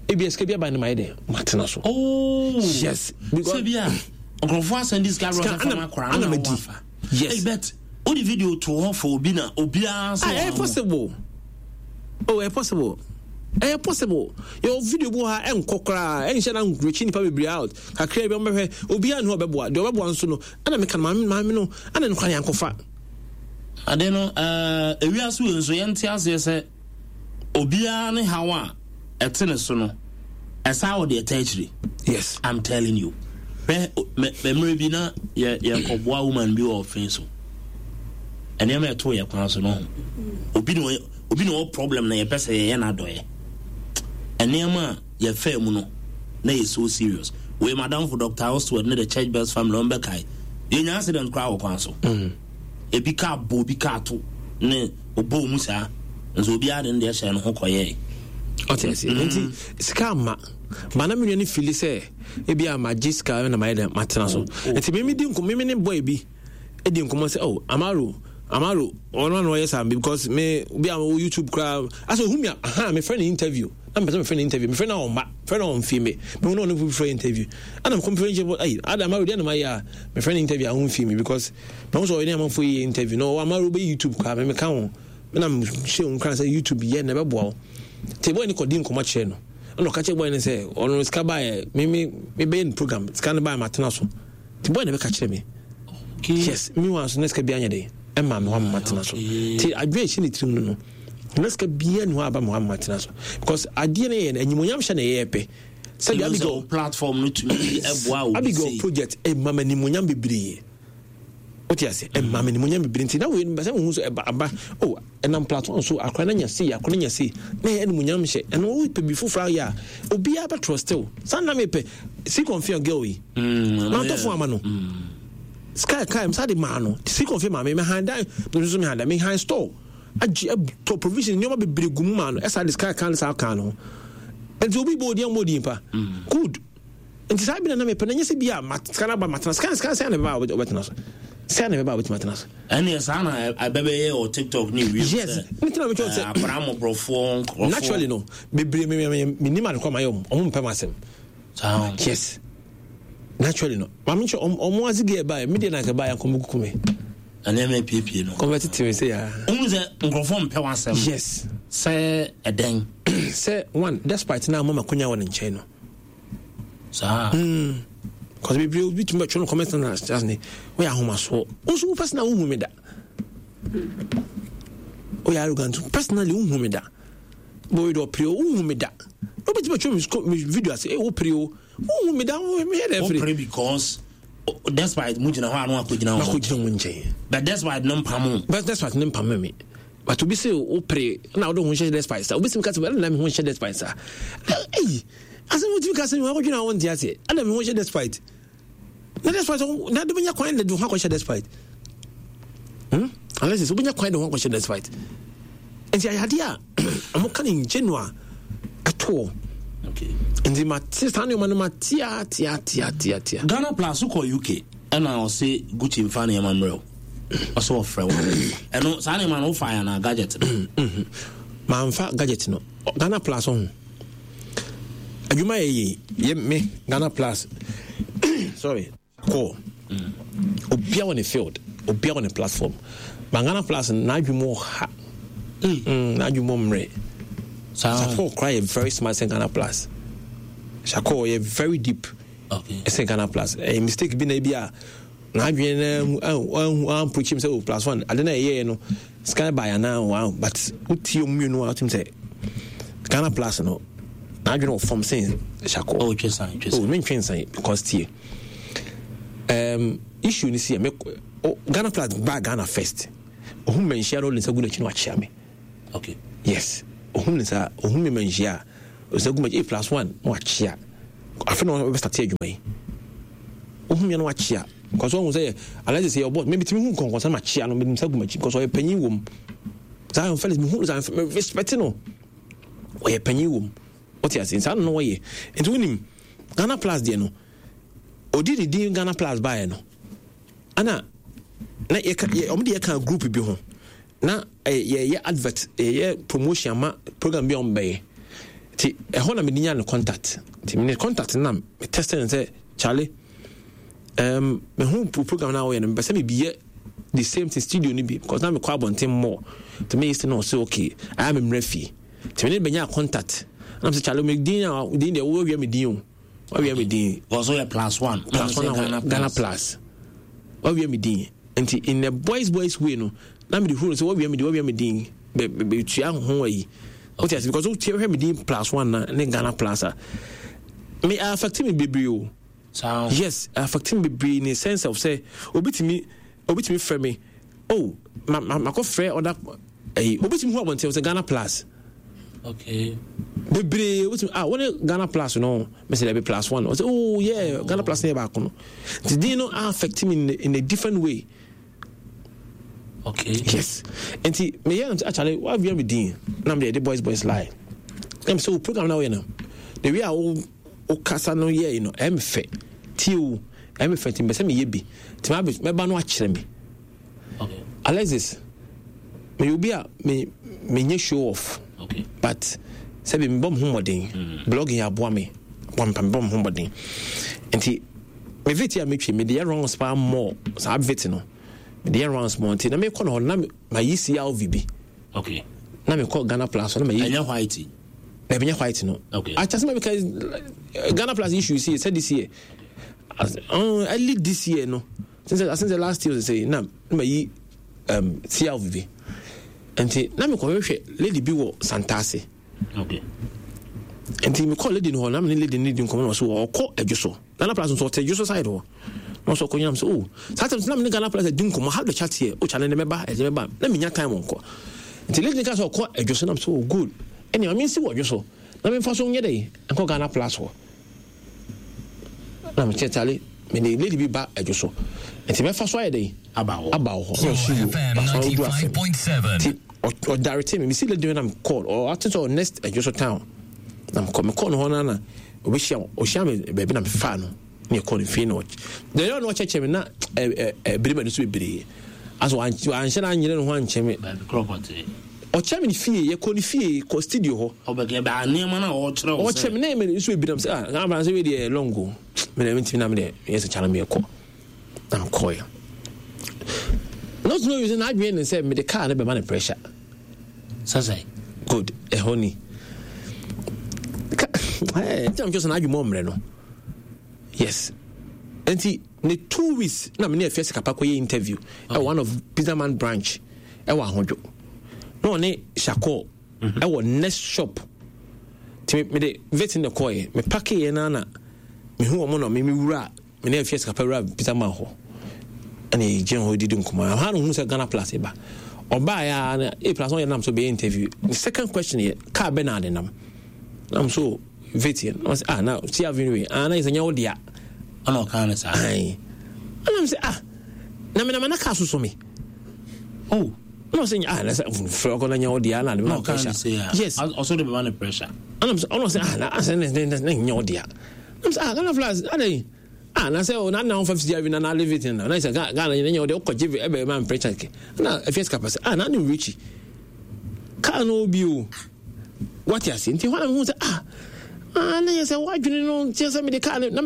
ebi sika bi aba ne ma yɛ dɛ matena so. Oh. Yes. Because sɛ bi a nkurɔfoɔ asɛn di sika rɔ sɛ fama akora na wafa. Yes. Hey, bet wode video to hɔ for obi na obiara sɛ. Ah, ɛyɛ possible. Oh, ɛyɛ possible. Ɛyɛ possible. Yɛ video bi wɔ ha ɛnkɔ koraa ɛnhyɛ na nkurokyi nipa bebree out kakra bi ɔmbɛhwɛ obiara ne hɔ ɔbɛboa deɛ ɔbɛboa nso no ɛna meka no maame maame no ɛna no kora yɛankɔfa. Ade no ɛɛ ewiase wei nso yɛnte aseɛ sɛ obiara ne haw a ɛte ne so no ɛsaa wɔ deɛ ɛta akyire. Yes. I'm telling you. Hwɛ mmerɛ bi na yɛ yɛkɔboa woman bi wɔ ɔfen so. Nneɛma ɛto yɛ kwan so no ho. Obi na ɔyɛ obi na ɔwɔ problem na yɛpɛ sɛ yɛyɛ n'adɔyɛ. Nneɛma a yɛfaa mu no na yɛ so serious. Wei madamfo Doctor Oswald ne the Church Best Family wɔn bɛkae. Yɛnya accident koraa wɔ kwan so. Mm. Ebi kaa bɔ obi kaa to ne ɔbɔ mu saa. Nso obiara de ne deɛ hyɛ ne ho kɔyɛɛ. Ɔte ase. Nti sika ama. Ba na me nua no fili sɛ ebi a magye sika na mayɛ dɛ matena so. Nti me me di nkɔmmɔ me ne boy bi di nkɔmmɔ sɛ oh Amaro Amaro ɔno na ɔyɛ saa because me bi a wɔ YouTube koraa asɛ ohun mi a aha me frɛ no interview na mepɛ sɛ me frɛ no interview me frɛ no ɔmba frɛ no ɔmfie me me hu na ɔno frɛ interview ɛna me kɔmfrɛ nkyɛn ayi ada Amaro deɛ na mayɛ a me frɛ no interview a ɔmfie me because na ɔsɛ ɔyɛ ne amanfoɔ yɛ interview na ɔwɔ Amaro bɛ YouTube koraa me meka ho me na mehyɛ wo nkran sɛ YouTube yɛ na ɛbɛboa wo nti boy no kɔdi nkɔmmɔ kyerɛ no ɛna ɔka kyerɛ boy no sɛ ɔno sika baeɛ me me mebɛyɛ no program sika no baeɛ matena so nti boy no bɛka kyerɛ me. Okay. Yes, me wa so na sika bi anyɛ den ɛma me hɔ ama matena so nti adwene ɛhyɛ ne tirim no no na sika biara ni hɔ aba me hɔ ama matena so because adeɛ no yɛ no animonyam hyɛ na ɛyɛ pɛ sɛdeɛ Abigail platform no tumi ɛboa obi Abigail project ɛma me animonyam bebree wote ase ɛma me animonyam bebree nti na wei no bɛsɛ mehu so ɛba aba oh ɛnam platform so akora no anya sei akora no anya sei na ɛyɛ animonyam hyɛ ɛno wopɛ bi foforɔ ayɛ a obiara bɛtrɔ still saa na mepɛ si confirm girl yi mantɔfo ama no sky kai msa de maa no si confirm maame me han dan me nso me han dan me han store agye tɔ provision nneɛma bebree gu mu maa no ɛsa de sky kan saa kan no nti obi bɔ odi ammɔ odi mpa good nti saa bi na na mepɛ na nyɛ sɛ bi a sika no aba matena sika sika sɛ na bɛba a wobɛtena so sɛ na bɛba a wobɛtumi atena so ɛneɛ saa na ɛbɛbɛyɛ wɔ TikTok ne wiem yes ne tena metwɛ sɛ akwaraa mmɔborɔfoɔ nkurɔfoɔ naturally no bebree menim adekɔ ma yɛ ɔmo ɔmo mpɛ m asɛm yes naturally no maame nkyɛ ɔmo ase gɛ ɛbaeɛ medeɛ na nka ɛbaeɛ nkɔmɔ kuku me nneɛma epiepie no kɔmɛ tete me sɛ yaa ohun sɛ nkurɔfoɔ mpɛ w'asɛm yes sɛ ɛdɛn sɛ one despite na ama makonya wɔ ne nkyɛn no saa mm cause bebree obi tumi bɛtwerɛ no comment na as ne woyɛ ahomasoɔ wo nso wo personal wohu me da woyɛ arrogant personally wohu me da bɔyɛ dɛ ɔpere o wohu me da wobɛtumi bɛtwerɛ me video ase eh wopere o wohu me da meyɛ dɛ firi wopere because despite mu gyina hɔ a no akɔgyina hɔ akɔgyina wo nkyɛn but despite no mpam o but despite no mpam me but obi sɛ wopere na wode ho nhyɛ despite sa obi sɛ meka sɛ ɛna me ho nhyɛ despite sa ɛyi asɛm wotumi ka sɛ wakɔdwene a wonte aseɛ ɛna me ho hyɛ despite na despite na de bɛnya kwan de ho akɔhyɛ despite hmm unless sɛ wobɛnya kwan de ho akɔhyɛ despite nti ayɛ a ɔmo ka ne nkyɛ no a ɛtoɔ nti mate saa nneɛma no matea tea tea tea tea Ghana Plus wokɔ U K ɛna ɔse Gucci mfa nneɛma mmerɛ wo ɔsɛ ɔfrɛ wo ɛno saa nneɛma no wofa yɛ anaa gadget no mamfa gadget no Ghana Plus ho adwuma yɛ yɛ yɛ me Ghana Plus sorry kɔ obia wɔ ne field obia wɔ ne platform ma Ghana Plus n'adwuma wɔ ha n'adwuma mmerɛ Shako kora yɛ very smart sɛ Ghana Plus Shako yɛ very deep ɛsɛ Ghana Plus ɛyɛ mistake bi na ebi a n'adwene na ahu amprochi sɛ o plus one ade na ɛyɛɛ no sky by anaa wow but wotie ɔmu mmienu a wotim sɛ Ghana Plus no n'adwene wɔ fam sen Shako oh twe san twe san oh mentwe nsan because tie um, issue ni si yɛ me oh, Ghana Plus ba Ghana first ohun mmanhyia no ɔde nsa gu n'akyi na wakyia me okay yes Ohun ne saa, ohun mi ma nhyia a, ɔsɛ gu ma eh plus one na wakyea. Afei na ɔbɛstart adwuma yi. Ohun mi na wakyea. Because ɔhu sɛ Alexis yɛ ɔbɔ, me bitumi hu nkɔnkɔnsa ma kyea no, me nsa gu m'akyi because ɔyɛ panyin wɔ mu. Zion Felix me hu Zion me respect no. Ɔyɛ panyin wɔ mu. Ɔte ase nsa no ɔyɛ. Nti wonim Ghana Plus deɛ no, odi ne din Ghana Plus baeɛ no, ana na yɛka yɛ ɔmo de yɛka group bi ho na yɛyɛ advert, yɛyɛ promotion ama program bi a ɔmo bɛyɛ. Nti ɛhɔ na mede nya ne contact. Nti ne contact na me test no sɛ Charlie, um, me hu program na ɔyɛ no, mepɛ sɛ mebiyɛ the same thing studio no bi because na mekɔ abɔnten mmɔ. Nti meyɛ sɛ na ɔsɛ okay, ayɛ me mmerɛ fie. Nti mene bɛnya contact. Na mesɛ Charlie, me din a din deɛ wɔawia me din o. Wɔawia me din. Because ɔyɛ plus one. Plus one Ghana, Ghana Plus. Wɔawia me din. Nti in the boys boys way no, na mede huru sɛ wɔawia me din, wɔawia me din. Bɛ bɛ tua ho ayi. Wote ase because wotie hwɛ me din plus one na ne Ghana Plus a. Me affect me bebree o. So yes, affect me bebree in the sense of say obi timi obi timi frɛ me. Oh, ma ma makɔ frɛ other eh obi timi hu abɔnten sɛ Ghana Plus. Okay. Bebree obi timi ah wɔne Ghana Plus no, me sɛ be plus one. Ɔsɛ oh yeah, oh. Ghana Plus ne baako no. Nti din no affect me in, in a different way. Okay. Yes. Nti me yɛ actually what we me din na me de boys boys lie. Na me so program na we na. The way a wo kasa no yɛ no em fe. Ti o em fe ti me se me yɛ bi. Ti ma me ba no akyerɛ me. Okay. Alexis, me obi a me me nye show off. Okay. But sɛ bi me bɔ me ho mmɔden. Blogging aboa me. Bɔ me bɔ me ho mmɔden. Nti me vit a metwe me de rounds pa more. Saa vit no. Me de rounds more nti na me kɔ no na ma yi C L V bi. Okay. Na me kɔ Ghana Plus na ma yi. Enya white. Na me white no. Okay. Acha sɛ me ka Ghana Plus issue see said this year. As, uh, early this year no. Since since the last year say na ma yi um C L V bi. Nti na me kɔ hwehwɛ lady bi wɔ Santase. Okay. Nti me kɔ lady no hɔ na me ne lady no di nkɔmɔ na ɔso ɔkɔ adwo Ghana Plus nso ɔte adwo side hɔ. Na ɔso ɔkɔ nyam sɛ oh saa time na me ne Ghana Plus di nkɔmɔ how the chat here o channel ne meba ɛde meba na me nya time nkɔ. Nti lady no ka sɛ ɔkɔ adwo so na me sɛ oh good. Ɛne ma me nsi wɔ adwo so na me mfa so nyɛ dɛ nkɔ Ghana Plus hɔ. Na me kyɛ tale me ne lady bi ba adwo so. Nti me fa so ayɛ dɛ aba hɔ. Aba hɔ. Na ɔso yo. Nti ɔdarete me me si lady no na me call or ate sɛ next adwo so town. Na me call me call no hɔ na na obehyia ohyia me baabi na me fa no ne call no fie na ɔkyɛ. Na yɛ no ɔkyɛkyɛ me na eh eh bere ma no so bebree. Aso anhyɛ na anyere no ho ankyɛ me. Baabi krɔpɔte. Ɔkyɛ me ne fie yɛ kɔ ne fie kɔ studio hɔ. Ɔbɛkɛ ba nneɛma na ɔkyerɛ wo sɛ. Ɔkyɛ me na me so ebi nam sɛ ah na abran sɛ we deɛ longo. Me na me ntimi na me deɛ yɛ sɛ kyana me kɔ. Na me kɔ yɛ. Not know you say na adwene ne sɛ me de car ne bɛma ne pressure. Sɛ sɛ. Good. Ɛhɔ ni. Ka eh nti am just na adwene mɔ no. Yes. Nti ne two weeks na me ne afia sikapa kɔ yɛ interview. Okay. One of Pizza Man branch. Ɛwɔ ahodwo. Na ɔne Shako ɛwɔ next shop. Ti me de vet ne kɔɛ. Me pack yɛ na na me hu ɔmo na me me wura me ne afia sikapa wura Pizza Man hɔ. Ɛna gyina hɔ didi nkɔmɔ. Ha no hu sɛ Ghana Plus ba. Ɔbaa ya na A Plus ɔyɛ nam so bɛyɛ interview. The second question yɛ car bɛ na ade nam. Nam so vet yɛ. Na ɔsɛ ah na C Avenue way. Ah na yɛ sɛ nyɛ wo dea. Ɔna ɔka ne saa. Ayi. Ɛna me sɛ ah na me na ma na car soso me. Oh. No sɛ ah na sɛ frɛ ɔkɔ na nyɛ wo dea na de ma pressure. Yes. Ɔso de ma ne pressure. Ɛna me sɛ ɔno sɛ ah na asɛ ne ne ne nyɛ wo dea. Na me sɛ ah Ghana Plus adɛn. Ah na sɛ o na na ɔfa C Avenue na na live it na na sɛ Ghana nyɛ wo dea ɔkɔ gye ɛbɛ ma pressure ke. Na afia sika pɛ sɛ ah na ne Richie. Car no obi o. What you say? Nti hɔ na me hu sɛ ah ah na yɛ sɛ wadwene no nti sɛ me de car no na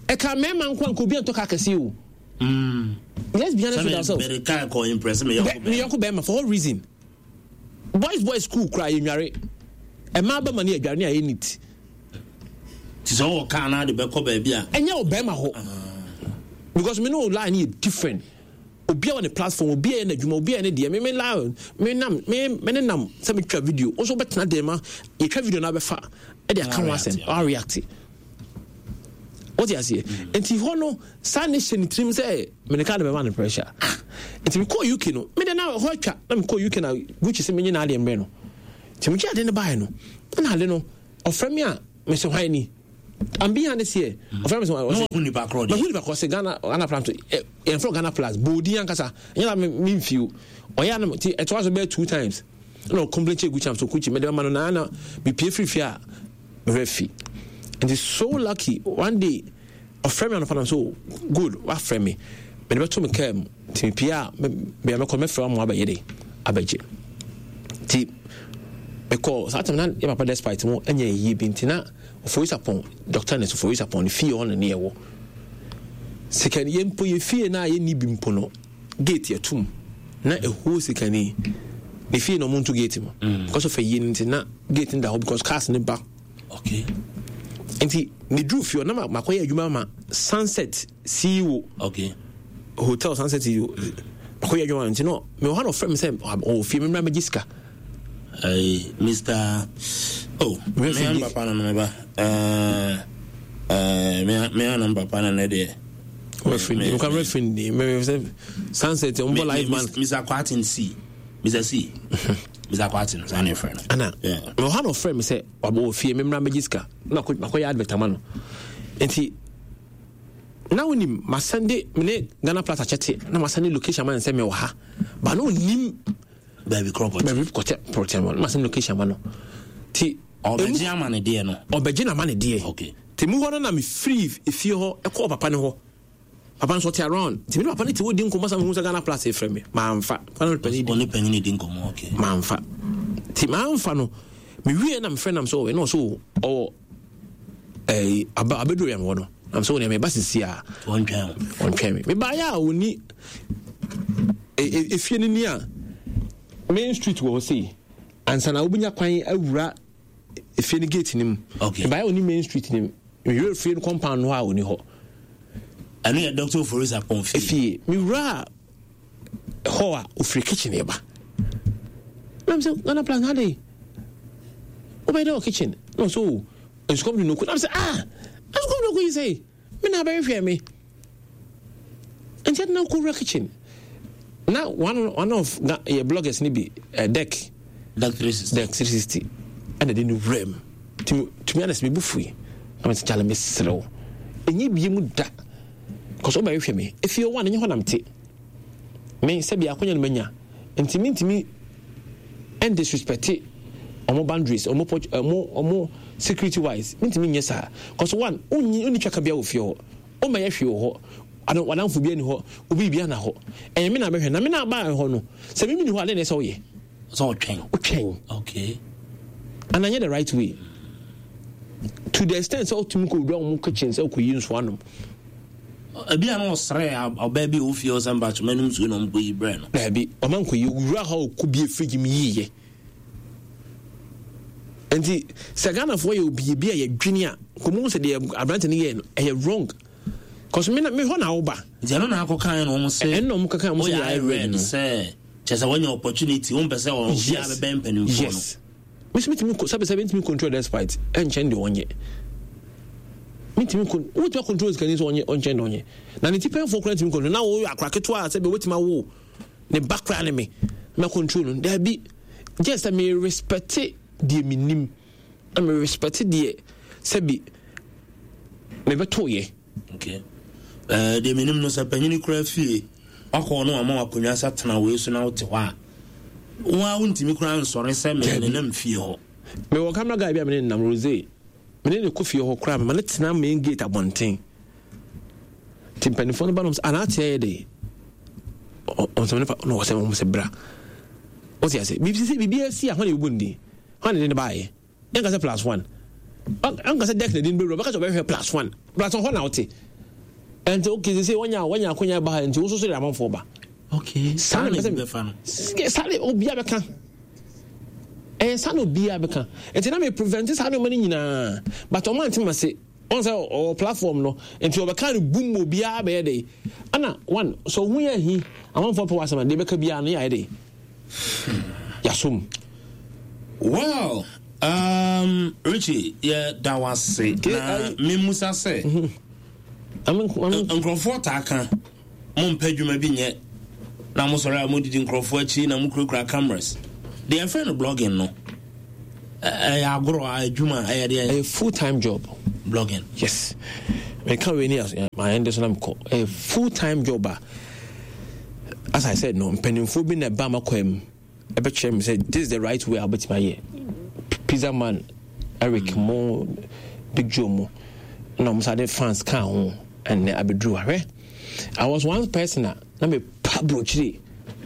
ɛka mɛma nko anko obi antɔ car kɛse o. Mm. Let's be honest with ourselves. Me car ko impress me yɔnko me yɔnko bɛma for what reason? Boys boys school cry enware. Ɛma ba mani adware ne ayɛ neat. Ti sɛ wɔ car na de bɛkɔ baabi a. Ɛnyɛ o bɛma hɔ. Because me no line yɛ different. Obi a wɔ ne platform, obi a yɛ n'adwuma, obi a yɛ ne deɛ, me me la me nam me me ne nam sɛ me twa video. Nso bɛtena dɛm ma yɛtwa video na abɛfa ɛde aka ho asɛm, ɔa react. Wote aseɛ? Nti hɔ no saa ne hyɛ ne tirim sɛ me ne car de bɛma ne pressure. Nti mekɔɔ U K no, me de na hɔ atwa na mekɔɔ U K na Gucci sɛ menye n'adeɛ mbrɛ no. Nti megye ade no baeɛ no, ɛna ade no ɔfrɛ me a mesɛ hwan ni? I'm being honest here. Ɔfrɛ me sɛ ɔsɛ mahu nipa korɔ deɛ. Mahu nipa korɔ sɛ Ghana Ghana Plus yɛmfrɛ Ghana Plus boodin ankasa ɛnyɛ na me mfio. Ɔyɛ anam nti ɛtoa so bɛyɛ two times. Ɛna ɔcomplain kyɛ Gucci am so Gucci mede bɛma no na na mepie firi fie a mehwɛ fi. Nti so lucky one day ɔfrɛ me anɔpa nam so good wafrɛ me mede bɛto me kaa mu nti mepie a bea mɛkɔ mɛfrɛ wa mo abɛyɛ de abɛgye. Nti mekɔ saa tam na yɛ papa despite mo ɛnyɛ yie bi nti na Ofori Sarpong Doctor Ernest Ofori Sarpong ne fie hɔ na ne yɛwɔ. Sikani yɛn mpo yɛ fie na yɛnni bi mpo no gate yɛtum na ɛhuo sikani ne fie na ɔmo nto gate mu mm. because of ɛyie no nti na gate no da hɔ because cars ne ba. Okay. Nti ne duru fie hɔ na makɔyɛ adwuma ma Sunset C E O. Okay. Hotel Sunset C E O. Makɔyɛ adwuma nti no mewɔ hɔ na ɔfrɛ me sɛ ɔwɔ fie memmra mɛgye sika. Hey, Mister Oh, me and papa no me ba. Eh eh me me and papa no ne de. Referee, me referee ni me me Sunset on live man. Mister Kwatin C. Mister C. Mister Kwatin, sa ne friend. Ana. Yeah. Me ha no friend me say wabo fie me mra me sika. Na makɔ yɛ advert ama no. Nti na wonim masende me ne Ghana Plus akyɛte na masende location ma nsɛ me wɔ ha. Ba no onim baabi korɔ pɔtɛ baabi kɔtɛ pɔtɛ no masende location ma no. Ti ɔbɛgye ama ne deɛ no. Ɔbɛgye na ma ne deɛ. Okay. Ti mu hɔ no na me free efie hɔ ɛkɔɔ papa ne hɔ. Papa nso ɔte around. Ti mi ne papa ne te hɔ di nkɔmmɔ sa mehu sɛ Ghana Plus efrɛ me. Mamfa. Papa no panyin di. Ɔne panyin di nkɔmmɔ okay. Mamfa. Ti mamfa no. Me wie na me frɛ nam sɛ ɔwɔ na ɔso ɔwɔ ɛɛ aba abɛduru yɛn hɔ no. Nam sɛ ɔne me ba sisi a. Ɔntwɛn. Ɔntwɛn me. Me ba yɛ a ɔni efie no ni a main street wɔ hɔ sei. Ansa na wobɛnya kwan awura efie no gate no mu. Okay. Me ba yɛ ɔni main street no mu. Me wura efie no compound no hɔ a ɔni hɔ. Ɛno yɛ Doctor Ofori Sarpong fie. Efie. Me wura hɔ a ofiri kitchen yɛ ba. Na me sɛ Ghana Plus na de. Wobɛyɛ dɛ wɔ kitchen. Na ɔsɛ o nsukɔm de no ku. Na me sɛ ah nsukɔm de no ku yi sɛ me na abɛhwehwɛ me. Nti ɛde na kɔ wura kitchen. Na one one of na yɛ bloggers ni bi uh, deck. Deck three sixty. Deck three sixty. Ɛna de no wura mu. Tumi tumi anase me bu fui. Na me sɛ kyale me serew. Enye bie mu da. Kɔsɔ ɔbɛhwehwɛ me. Efie one enye hɔ nam te. Me sɛ bi akonya no manya. Nti me ntimi and disrespect ɔmo boundaries, ɔmo ɔmo ɔmo security wise. Me ntimi nyɛ saa. Kɔsɔ one unyi unni twaka bia wɔ fie hɔ. O ma yɛ hwee wɔ hɔ. Ano wadanfo bi ani hɔ. Obi bi ana hɔ. Ɛyɛ me na bɛhwɛ na me na ba hɔ no. Sɛ me mini hɔ ade na ɛsɛ ɔyɛ. So ɔtwɛn. Ɔtwɛn. Okay. And I the right way. To the extent sɛ ɔtumi kɔ wura ɔmo kitchen sɛ ɔkɔ yi nso anom. Ebi ano ɔsrɛ ɔbaa bi a ofie ɔsɛ mba kyɛmɛ nom nsuo na ɔmo kɔ yi brɛ no. Daabi ɔma nkɔ yi wura hɔ ɔkɔ bie fridge mu yie. Nti sɛ Ghanafoɔ yɛ obi bi a yɛdwene a kɔmu sɛ deɛ aberante no yɛ no ɛyɛ wrong. Cause me na me hɔ na woba. Nti ɛno na akɔ kan na ɔmo sɛ. Ɛno na ɔmo kaka ɔmo sɛ yɛ red no. Sɛ kyɛ sɛ wɔnya opportunity wɔn pɛ sɛ ɔmo abɛbɛn mpanimfoɔ no. Yes. Mesi mitumi sɛbi sɛbi ntumi control despite ɛnkyɛn deɛ ɔnyɛ. Mitumi kon wotumi control sikani sɛ ɔnyɛ ɔnkyɛn deɛ ɔnyɛ. Na ne ti pɛnfoɔ koraa ntumi control na wɔyɛ akora ketewa a sɛbi wotumi awo ne ba koraa ne me na control no daabi gye sɛ me respect deɛ me nim na me respect deɛ sɛbi me bɛto yɛ. Okay. Eh, deɛ menim no sɛ panyini koraa fie wakɔ no ama wakonnwa sɛ tena wei so na wote hɔ a wo a wontumi koraa nsɔre sɛ me ne nam fie hɔ. Mewɔ camera guy bi a mene nam Rose mene ne kɔ fie hɔ koraa mema ne tena main gate abɔnten nti mpanimfoɔ no ba nom sɛ anaa ateɛ yɛ de ɔnsɛm ne pa na ɔsɛ wɔn sɛ bra wote ase biribi sɛ biribi asi a hɔ na ɛbɛbɔ ne din hɔ na ɛde ne baayɛ ɛnka sɛ plus one ɛnka sɛ deck na ɛde ne bɛwura bɛka sɛ ɔbɛhwɛ plus one plus one hɔ na wote ɛnti okay sɛ wɔnya wɔnya akonya ba ha nti wo nso so de amanfoɔ ba okay saa na bɛfa no saa na obiara bɛka ɛyɛ saa na obiara bɛka nti na me prevent saa nneɛma no nyinaa but ɔmo ante ma se ɔn sɛ ɔwɔ platform no nti ɔbɛka no boom obiara bɛyɛ de ana one so ohun yɛ hi amanfoɔ pɛ wɔ asɛm a deɛ bɛka biara no yɛ ayɛ de yasom. Well, um, Richie, yɛ da wase na memusa sɛ nkurɔfoɔ taa ka mompɛ adwuma bi nyɛ na mosɔre a modidi nkurɔfoɔ akyi na mokurakura cameras deɛ ɛfrɛ no blogging no Ɛyɛ agorɔ adwuma ɛyɛ deɛ. Ɛyɛ full time job. Blogging. Yes. Meka wei ni mayɛ de so na mekɔ. Ɛyɛ full time job a as I said no, mpanimfoɔ bi na ɛba makɔ mu ɛbɛkyerɛ me sɛ this is the right way a wobɛtumi ayɛ. Pizza Man, Eric mm. mo, Big Joe mo, na ɔmo sa de fans kaa ho ɛnɛ abɛduru ahwɛ. I was one person a na me pa burokyire.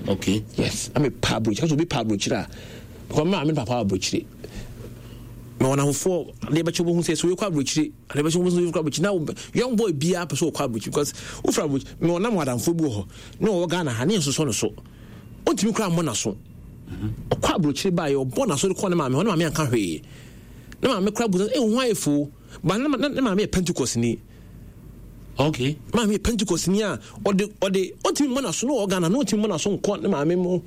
Okay. Yes, na me pa burokyire. Kasi obi pa burokyire a, because me maame ne papa wɔ aburokyire. Na wɔn ahofoɔ adeɛ bɛkyɛ wɔn ho sɛ so yɛkɔ aburokyire, adeɛ bɛkyɛ wɔn ho sɛ yɛkɔ aburokyire. Na young boy biara pɛ sɛ ɔkɔ aburokyire because wofura aburokyire. Na ɔnam adamfoɔ bi wɔ hɔ na ɔwɔ Ghana ha ne yɛn sosɔ ne so. Ɔntumi kura mmɔ n'aso. Ɔkɔ aburokyire baa yɛ ɔbɔ n'aso de kɔ ne maame hɔ, ne maame anka hwee. Ne maame kura bu sɛ eh ho ayɛ fo. Ba ne maame yɛ Pentecost ni. Okay. Maame yɛ Pentecost ni a ɔde ɔde ɔntumi mmɔ n'aso na ɔwɔ Ghana na ɔntumi mmɔ n'aso nkɔ ne maame mu.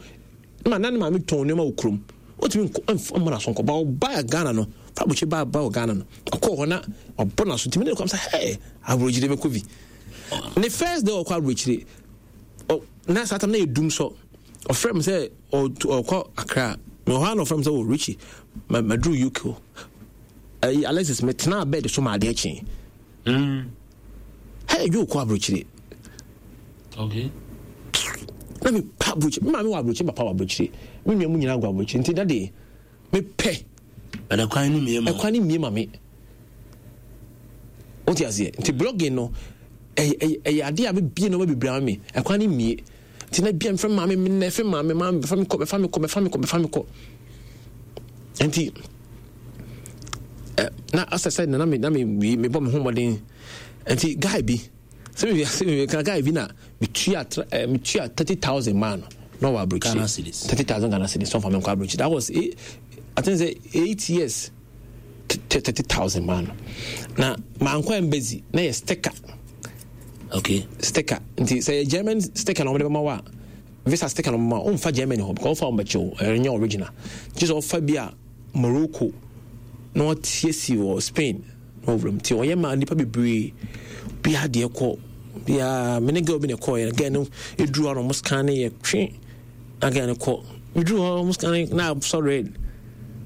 Ma na ne maame tɔn nneɛma wɔ kurom. Ɔntumi nkɔ mmɔ n'aso nkɔ. Ba ɔbaa Ghana no, fa aburokyire baa ba wɔ Ghana no. Ɔkɔɔ hɔ na ɔbɔ n'aso ntumi ne kɔm sɛ hey aburokyire bɛkɔ bi. Ne first day ɔkɔ aburokyire ɔ na saa tam na yɛ dum sɔ. Ɔfrɛ me sɛ ɔkɔ Accra. Na ɔhɔ a na ɔfrɛ me sɛ oh Richie ma maduru U K o. Ɛyi Alexis metenaa bed so ma adeɛ kyee. Mm. Hey, Joe kɔ aburokyire. Okay. Na me pa aburokyire. Me maame wɔ aburokyire, papa wɔ aburokyire. Me nua mu nyinaa gu aburokyire. Nti dade me pɛ. Ɛna kwan no mie ma. Ɛkwan no mie ma me. Wote aseɛ? Nti blogging no ɛyɛ ɛyɛ adeɛ a bebie nneɛma bebree ama me. Ɛkwan no mie. Nti na bia mfrɛ maame me nɛ fɛ maame maame bɛfa me kɔ bɛfa me kɔ bɛfa me kɔ bɛfa me kɔ. Nti na asɛ sɛ na me na me me bɔ me ho mmɔden. Nti guy bi sɛ me sɛ me ka guy bi na metua eh, metua thirty thousand maa no na ɔwɔ aburokyire thirty thousand Ghana cedis sɔnfa mi nkɔ aburokyire. That was eight, I think say eight years thirty thousand maa no na maa nkɔ embassy na yɛ sticker. Okay. Sticker nti sɛ yɛ German sticker na wɔn de bɛma wa visa sticker na wɔn ma wɔn nfa Germany hɔ because wɔfa wɔn bɛkyɛw ɛnyɛ original gye sɛ ɔfa bi a Morocco na wɔtiesie wɔ Spain na wɔwura mu nti ɔyɛ maa nipa bebree bi adeɛ kɔ biara me ne girl bi na ɛkɔɔ yɛ girl no eduru hɔ na wɔn scan yɛ twe na girl no kɔ eduru hɔ wɔn scan na asɔ red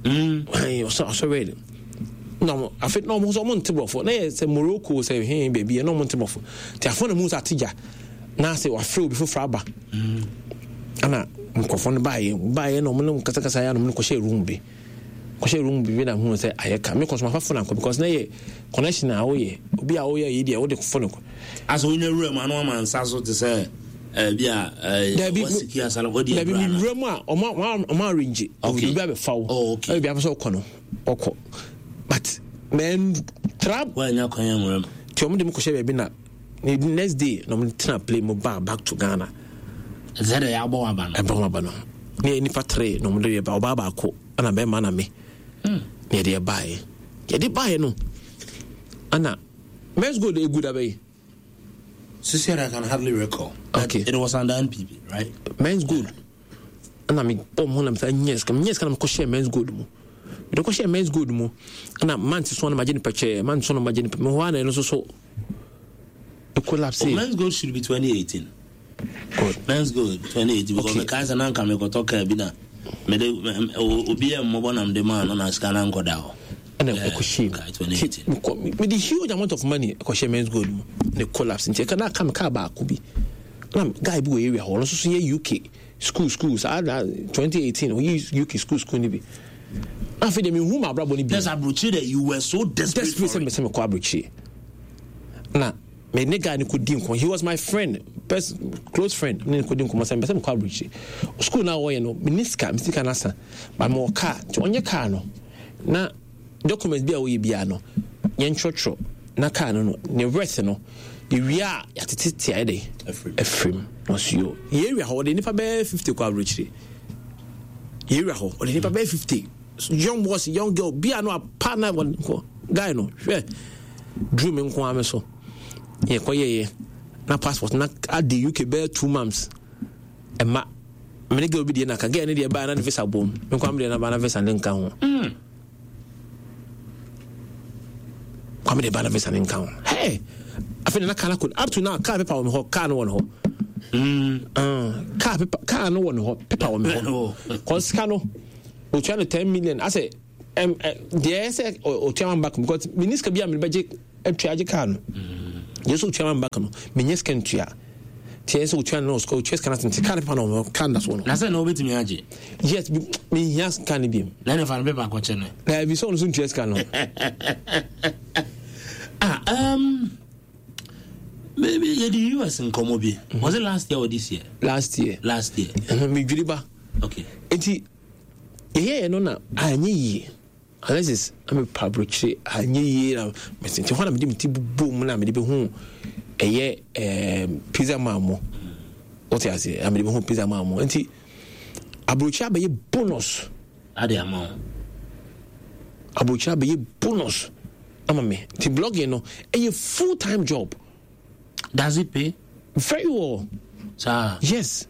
mm ɔsɔ ɔsɔ red na wɔn afei na wɔn nso wɔn nte borɔfo na yɛ sɛ Morocco sɛ hɛn baabi yɛ na wɔn nte borɔfo te afɔ na mu sɛ ate gya na sɛ wafrɛ obi foforɔ aba ɛna nkɔfo no baayɛ baayɛ na wɔn ne kasakasa yɛ na wɔn kɔhyɛ room bi kɔhyɛ room bi na hu sɛ ayɛ ka me kɔ so ma fa phone ankɔ because na yɛ connection a woyɛ obi a woyɛ yi deɛ wode phone kɔ. Asɛ wonya wura mu ano ama nsa so te sɛ ɛbi a dabi wasiki asala wadi dabi mi wura mu a ɔmo ɔmo arrange obi abɛfa wo obi abɛsɛ ɔkɔ no ɔkɔ but mɛn tra wanya kwan nwura mu nti ɔmo de mi kɔhyɛ baabi na the next day na ɔmo tena plane mu ba back to Ghana. Ɛsɛ dɛ yɛabɔ waba no ɛbɔ waba no ne yɛ nipa three na ɔmo de yɛ ba ɔbaa baako ɛna bɛrima na me na yɛde ɛbaeɛ yɛde baeɛ no ɛna Men's Gold egu da bɛyi. Sisi I can hardly recall. Okay. It was under N P P, right? Men's Gold. Ɛna me bɔ mo ho na me sɛ nyɛ sika nyɛ sika na me kɔhyɛ Men's Gold mu. Mede kɔhyɛ Men's Gold mu ɛna month so na magye nipa kyɛ month so na magye nipa me hɔ a na ɛno nso so collapse. Oh, Men's Gold should be twenty eighteen. Good. Men's Gold twenty eighteen because okay. Mekae sɛ na nka mekɔtɔ kaa bi na mede obi yɛ mmɔbɔ nam de maa no na sika na nkɔda hɔ. Ɛna ɛkɔhyɛ mu mede huge amount of money ɛkɔhyɛ Men's Gold mu ne collapse nti ɛka na aka me kaa baako bi na guy bi wɔ area hɔ ɔno nso so yɛ U K school school saa na twenty eighteen ɔyɛ U K school school ni bi na afei deɛ mehu ma abrabɔ no bi. That's aburokyire that you were so desperate. Desperate sɛ mesɛ mekɔ aburokyire na me ne guy no kɔ di nkɔmɔ. He was my friend, best close friend. Ne kɔ di nkɔmɔ sɛ mpɛ sɛ mekɔ aburokyire school na wɔyɛ no me ne sika me sika no asa but mewɔ car nti ɔnyɛ car no na document bi a wɔyɛ biara no yɛntwerɛtwerɛ na car no no ne worth no yɛwie a yɛatete ayɛ de afirim na ɔso yo yɛwia hɔ ɔde nipa bɛyɛ fifty kɔ aburokyire yɛwia hɔ ɔde nipa bɛyɛ fifty young boys, young girl bia no apa na wɔn guy no hwɛ duru me nko ara me so yɛkɔ yɛyɛ na passport na adi U K bɛyɛ two months ɛma me ne girl bi deɛ na ka girl ne deɛ baa na ne visa bom me nko ara me deɛ na baa na visa ne nka ho mm. Kwame de ba na visa ne nka ho. Hey, afei na car no akɔ up to now car paper wɔ me hɔ car no wɔ ne hɔ mm. uh, car paper car no wɔ ne hɔ paper wɔ me hɔ cause sika no otua no ten million asɛ ɛm ɛ deɛ ɛsɛ ɔtua man back because mini sika bi a mede bɛgye atua agye kaa no. Deɛ sɛ ɔtua man back no, menyɛ sika ntua. Tiɛ sɛ ɔtua no ɔtua sika no ase, nti kaa no pepa no kaa no da so no. Na sɛ na wobɛtumi agye? Yes, mehia kaa no biom. Na ne fa no pepa akɔkyɛ no. Na ebi sɛ ɔno so ntua sika no. Ah, um, maybe yɛde U S nkɔmmɔ bi. Was it last year or this year? Last year. Last year. Medwiri ba. Okay. Nti yɛyɛyɛ no na anyɛ yie. Alexis, na mepa aburokyire anyɛ yie na mɛsɛ nti hɔ na mede me ti bobɔ mu na mede bɛhu ɛyɛ ɛɛm pizza man mo. Wote ase, na mede bɛhu pizza man mo, nti aburokyire abɛyɛ bonus. Ade ama wo. Aburokyire abɛyɛ bonus ama me, nti blogging no ɛyɛ full time job. Does it pay? Very well. Saa? Yes,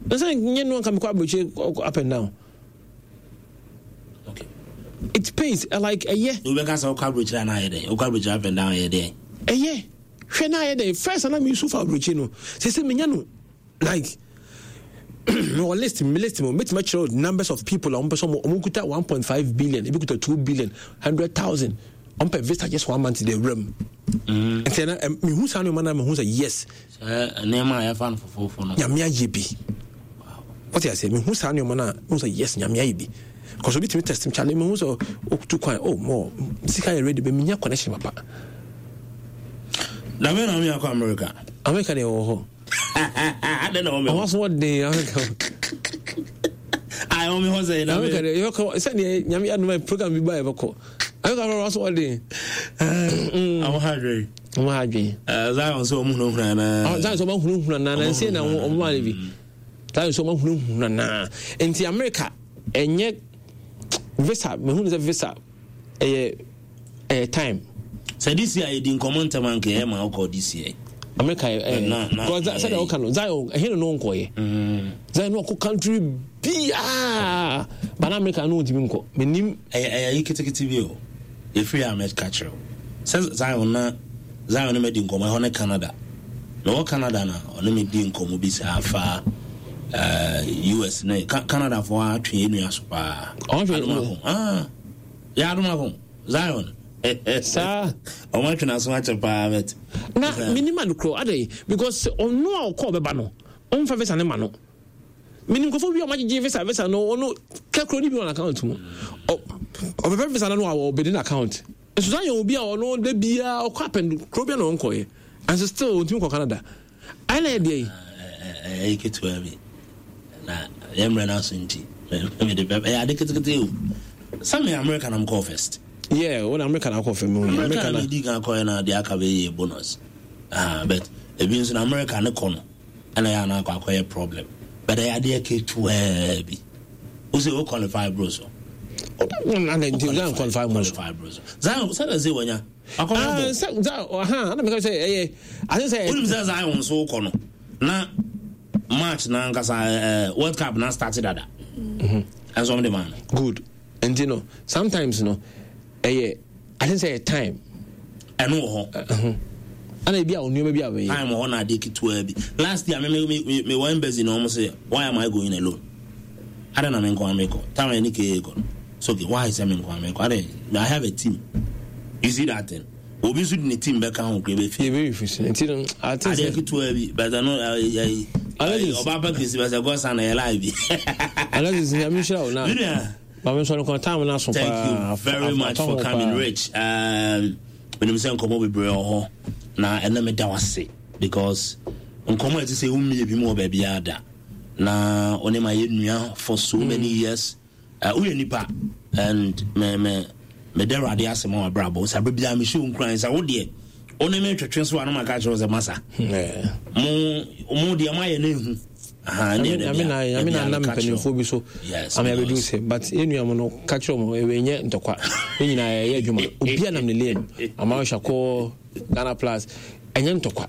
na sɛ nyɛ no anka mekɔ aburokyire up and down. Okay. It pays, uh, like ɛyɛ. Wobɛka sɛ wokɔ aburokyire anaa ayɛ dɛn? Wokɔ aburokyire up and down ayɛ dɛn? Ɛyɛ, hwɛ na ayɛ dɛn. First ana mi nso fa aburokyi no sɛ sɛ menya no like mewɔ list, me list mu mɛtumi akyerɛ numbers of people a wɔn pɛ sɛ wɔn wɔn kuta one point five billion, ebi kuta two billion hundred thousand, wɔn pɛ visa just one month de awura mu. Nti ɛna ɛ mehu saa nneɛma na mehu sɛ yes. Sɛ nneɛma a yɛfa no fofofo no. Nyame ayɛ bi. Wɔte ase, mehu saa nneɛma na mehu sɛ yes, Nyame ayɛ bi, because obi tumi test me, kyale, mehu sɛ otu kwan, oh, mo sika yɛ ready bɛ menya connection papa. Na me na me akɔ America. America deɛ wɔ hɔ. Adɛn na wɔmɛ? Ɔwɔ so wɔden America. Ayɛ wɔn hɔ sɛ na America deɛ yɛbɛkɔ sɛdeɛ Nyame adoma program bi ba, yɛbɛkɔ America hɔ, ɔwɔ so wɔden. Ɔwɔ ha adwene. Ɔwɔ ha adwene. Zion sɛ ɔmo hunahuna naa. Zion sɛ ɔmo hunahuna naa na nse na ɔmo maa ne bi. Zion sɛ ɔmo hunahuna naa, nti America ɛnyɛ visa, mehu sɛ visa ɛyɛ ɛyɛ time. Sɛ this year yɛdi nkɔmmɔ ntɛm anka ɛyɛ ma wokɔ this year. America ɛ ɛ sɛdeɛ ɔka no, Zion ɛhe no no nkɔyɛ Zion no ɔkɔ country biaa ba na America no ntumi nkɔ, menim. Ɛyɛ ɛyɛ yi ketekete bi o, yɛfiri a mɛka kyerɛ wo sɛ Zion na Zion ne madi nkɔmmɔ ɛhɔ ne Canada. Mewɔ Canada na ɔne me di nkɔmmɔ bi saa fa uh, U S ne Canada foɔ atwe yɛ nua so paa. Adomako, ah, yɛ adomako Zion. Saa. Ɔmo atwe n'aso akyɛ paa bɛt. Na menim ade korɔ adɛn, because ɔno a ɔkɔ ɔbɛba no, ɔmfa visa ne ma no. Menim nkurɔfoɔ bi a ɔmagyegye visa visa no, ɔno kɛkorɔ ne bi wɔ n'account mu, ɔbɛpɛ visa no no a ɔbɛdi n'account nso. Saa yɛ obi a ɔno da biara ɔkɔ apɛn kuro bi a na ɔnkɔyɛ, and still ɔntumi kɔ Canada, ɛna ɛdeɛ yi. Ɛyɛ ketewa bi na yɛ mmerɛ no aso, nti mede ɛyɛ ade ketekete o, sɛ me America na mekɔɔ first. Yeah, wɔn America na akɔ fɛ mu. America na medi kan kɔɛ na deɛ aka bɛyɛ bonus. Ah, but ebi nso na America ne kɔ no ɛna yɛ ana akɔ akɔyɛ problem, but ɛyɛ adeɛ ketewaa bi o sɛ o qualify bro so. Zion qualify mo so. Qualify bro so. Zion sɛ sɛ wɔnya akɔyɛ bɔ. Sɛ Zion ɔhan ɛna meka sɛ ɛyɛ ase sɛ. Onim sɛ Zion nso kɔ no na match na ankasa ɛɛ World Cup na start dada, ɛnso ɔmo de maa no. Good, nti no sometimes no ɛyɛ ase sɛ ɛyɛ time. Ɛno wɔ hɔ. Ɛna ebi a onneɛma bi a wɔyɛ. Time wɔ hɔ na adeɛ ketewa bi. Last year me me me me wɔ embassy na ɔmo sɛ, "Why am I going alone? Ada na me nko ame kɔ time yɛ ne kee kɔ no so, okay, why sɛ me nko ame kɔ? Ada I have a team." You see that thing, obi nso de ne team bɛka ho kura bɛ fi. Ebe fi so nti no ate sɛ adeɛ ketewa bi, but ɛno ɛyi ɛyi ɔba pɛ kesi bɛ sɛ gɔsa na yɛ live bi. Alexis, Nyame nhyira wo na maame nsɔre kɔn time na so paa. Thank you very much for coming, Rich. um, menim sɛ nkɔmmɔ bebree wɔ hɔ na ɛnɛ meda wo ase because nkɔmmɔ a ɛte sɛ wommie bi mu wɔ baabiara da na ɔne ma yɛ nua for so mm. many years. uh, woyɛ nipa and me me meda Awurade ase ma wabrabɔ sɛ abɛ biara mehyɛ wo nkuran sɛ wo deɛ wo ne me twetwe so a na maka kyerɛ wo sɛ masa mo mo deɛ moayɛ no ɛhu. Nyame na nam mpanimfoɔ bi so ama yɛbɛdu sɛ, but yɛnua mu no ka kyerɛ mu ɛwɛ nyɛ ntɔkwa, ne nyinaa yɛyɛ adwuma, obia nam ne lane ama hyakɔ Ghana Plus, ɛnyɛ ntɔkwa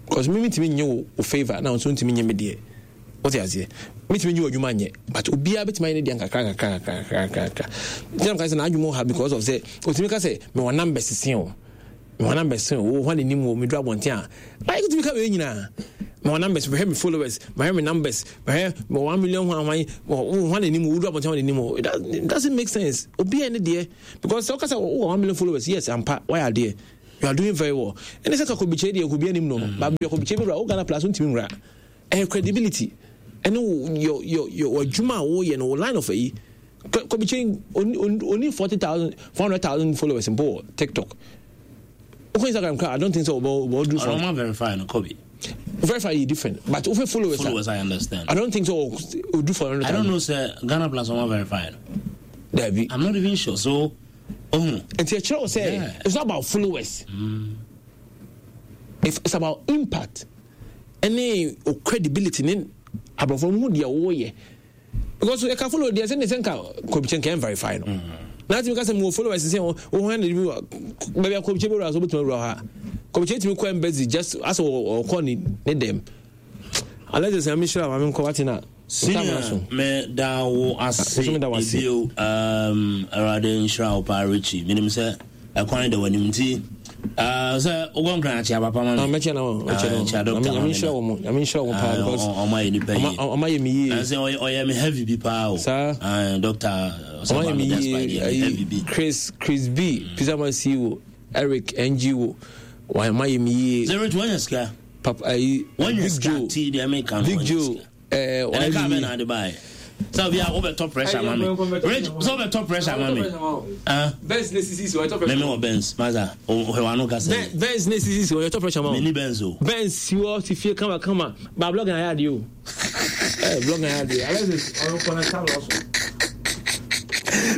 because me metumi nye wo wo favour na nso ntumi nye me deɛ, wote aseɛ? Metumi nye wo adwuma nyɛ, but obiara bɛtumi ayɛ ne deɛ nkakra nkakra nkakra nkakra. Nti na mka sɛ n'adwuma wɔ ha because of sɛ otumi ka sɛ mewɔ numbers sen o, mewɔ numbers sen o, wo hɔ n'anim wɔ meduru abɔnten a ayɛ tumi ka wei nyinaa. Mewɔ numbers, mehwɛ me followers, mehwɛ me numbers, mehwɛ mewɔ one million hwan hwan hwan n'anim woduru abɔnten hwan n'anim. It doesn't make sense. Obiara ne deɛ, because sɛ wokasa wowɔ one million followers, yes, ampa wayɛ adeɛ, you are doing very well. Ɛne sɛ ka kɔbikyɛ deɛ kɔbi anim no no mm. Baabi kɔbikyɛ bi wura wo Ghana Plus wontumi nwura. Ɛyɛ credibility ɛne wo your your your adwuma a woyɛ no, wo line of ayi. Kɔbikyɛ oni forty thousand, four hundred thousand followers mpo wɔ TikTok. Wokɔ Instagram kora, I don't think so ɔbɔ ɔbɔ do. Ɔno ma verify no, Kobe. Verify yɛ different, but wohwɛ followers. Followers, I understand. I don't think so odu four hundred I don't know sɛ Ghana Plus ɔma verify no. Dabi. I'm not even sure, so oh. Nti ɛkyerɛ wo sɛ it's not about followers. mm. If it's about impact ɛne o credibility ne aborɔfo no ho deɛ wɔyɛ, because ɛka follow deɛ sɛ ne sɛ nka kɔmkyɛn nka verify no mm. Na atumi ka sɛ mewɔ followers sɛ wo ho na bi baabi a kɔmkyɛn bɛwura so wobɛtumi awura hɔ a kɔmkyɛn tumi kɔ embassy just asɛ ɔkɔ ne ne dɛm. Alexis, nyame hyira ma menkɔ wate na. Senior, me da wo ase ebio. um, Awurade nhyira wo paa, Richie. Menim sɛ ɛkwan da w'anim nti uh, sɛ wokɔ Nkran akyea papa ma me. Mɛkyɛ na mɛkyɛ no. Kyea doctor ma me. Nyame nhyira wo mo, nyame nhyira wo paa, because ɔma yɛ nipa yie. Ɔma yɛ me yie. Sɛ ɔyɛ me heavy bi paa o. Saa. Doctor. Ɔma yɛ me yie ayi Chris Chris B, Pizza Man C E O, Eric N G O, ɔma yɛ me yie. Sɛ Rich wanya sika. Papa ayi Big Joe. Big Joe. Ɛɛ ɛnɛ kaa bɛ na ade baa yɛ sɛ obi a wobɛtɔ pressure ma me, Rich, sɛ wobɛtɔ pressure ma me. Benz ne sisi si ɔyɛtɔ pressure. Mɛmɛ wɔ Benz masa ɔhwɛ wa no kasa. Benz ne sisi si ɔyɛtɔ pressure ma o. Mɛ ni Benz o. Benz si hɔ si fie kama kama ba blog na ayɛ adeɛ o. Ɛɛ blog na ayɛ adeɛ, Alexis ɔno kɔ na sábà ɔso.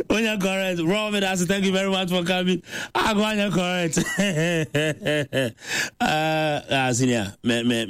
Onya correct. Robin, I thank you very much for coming. I go on correct. uh, uh, senior, me, me,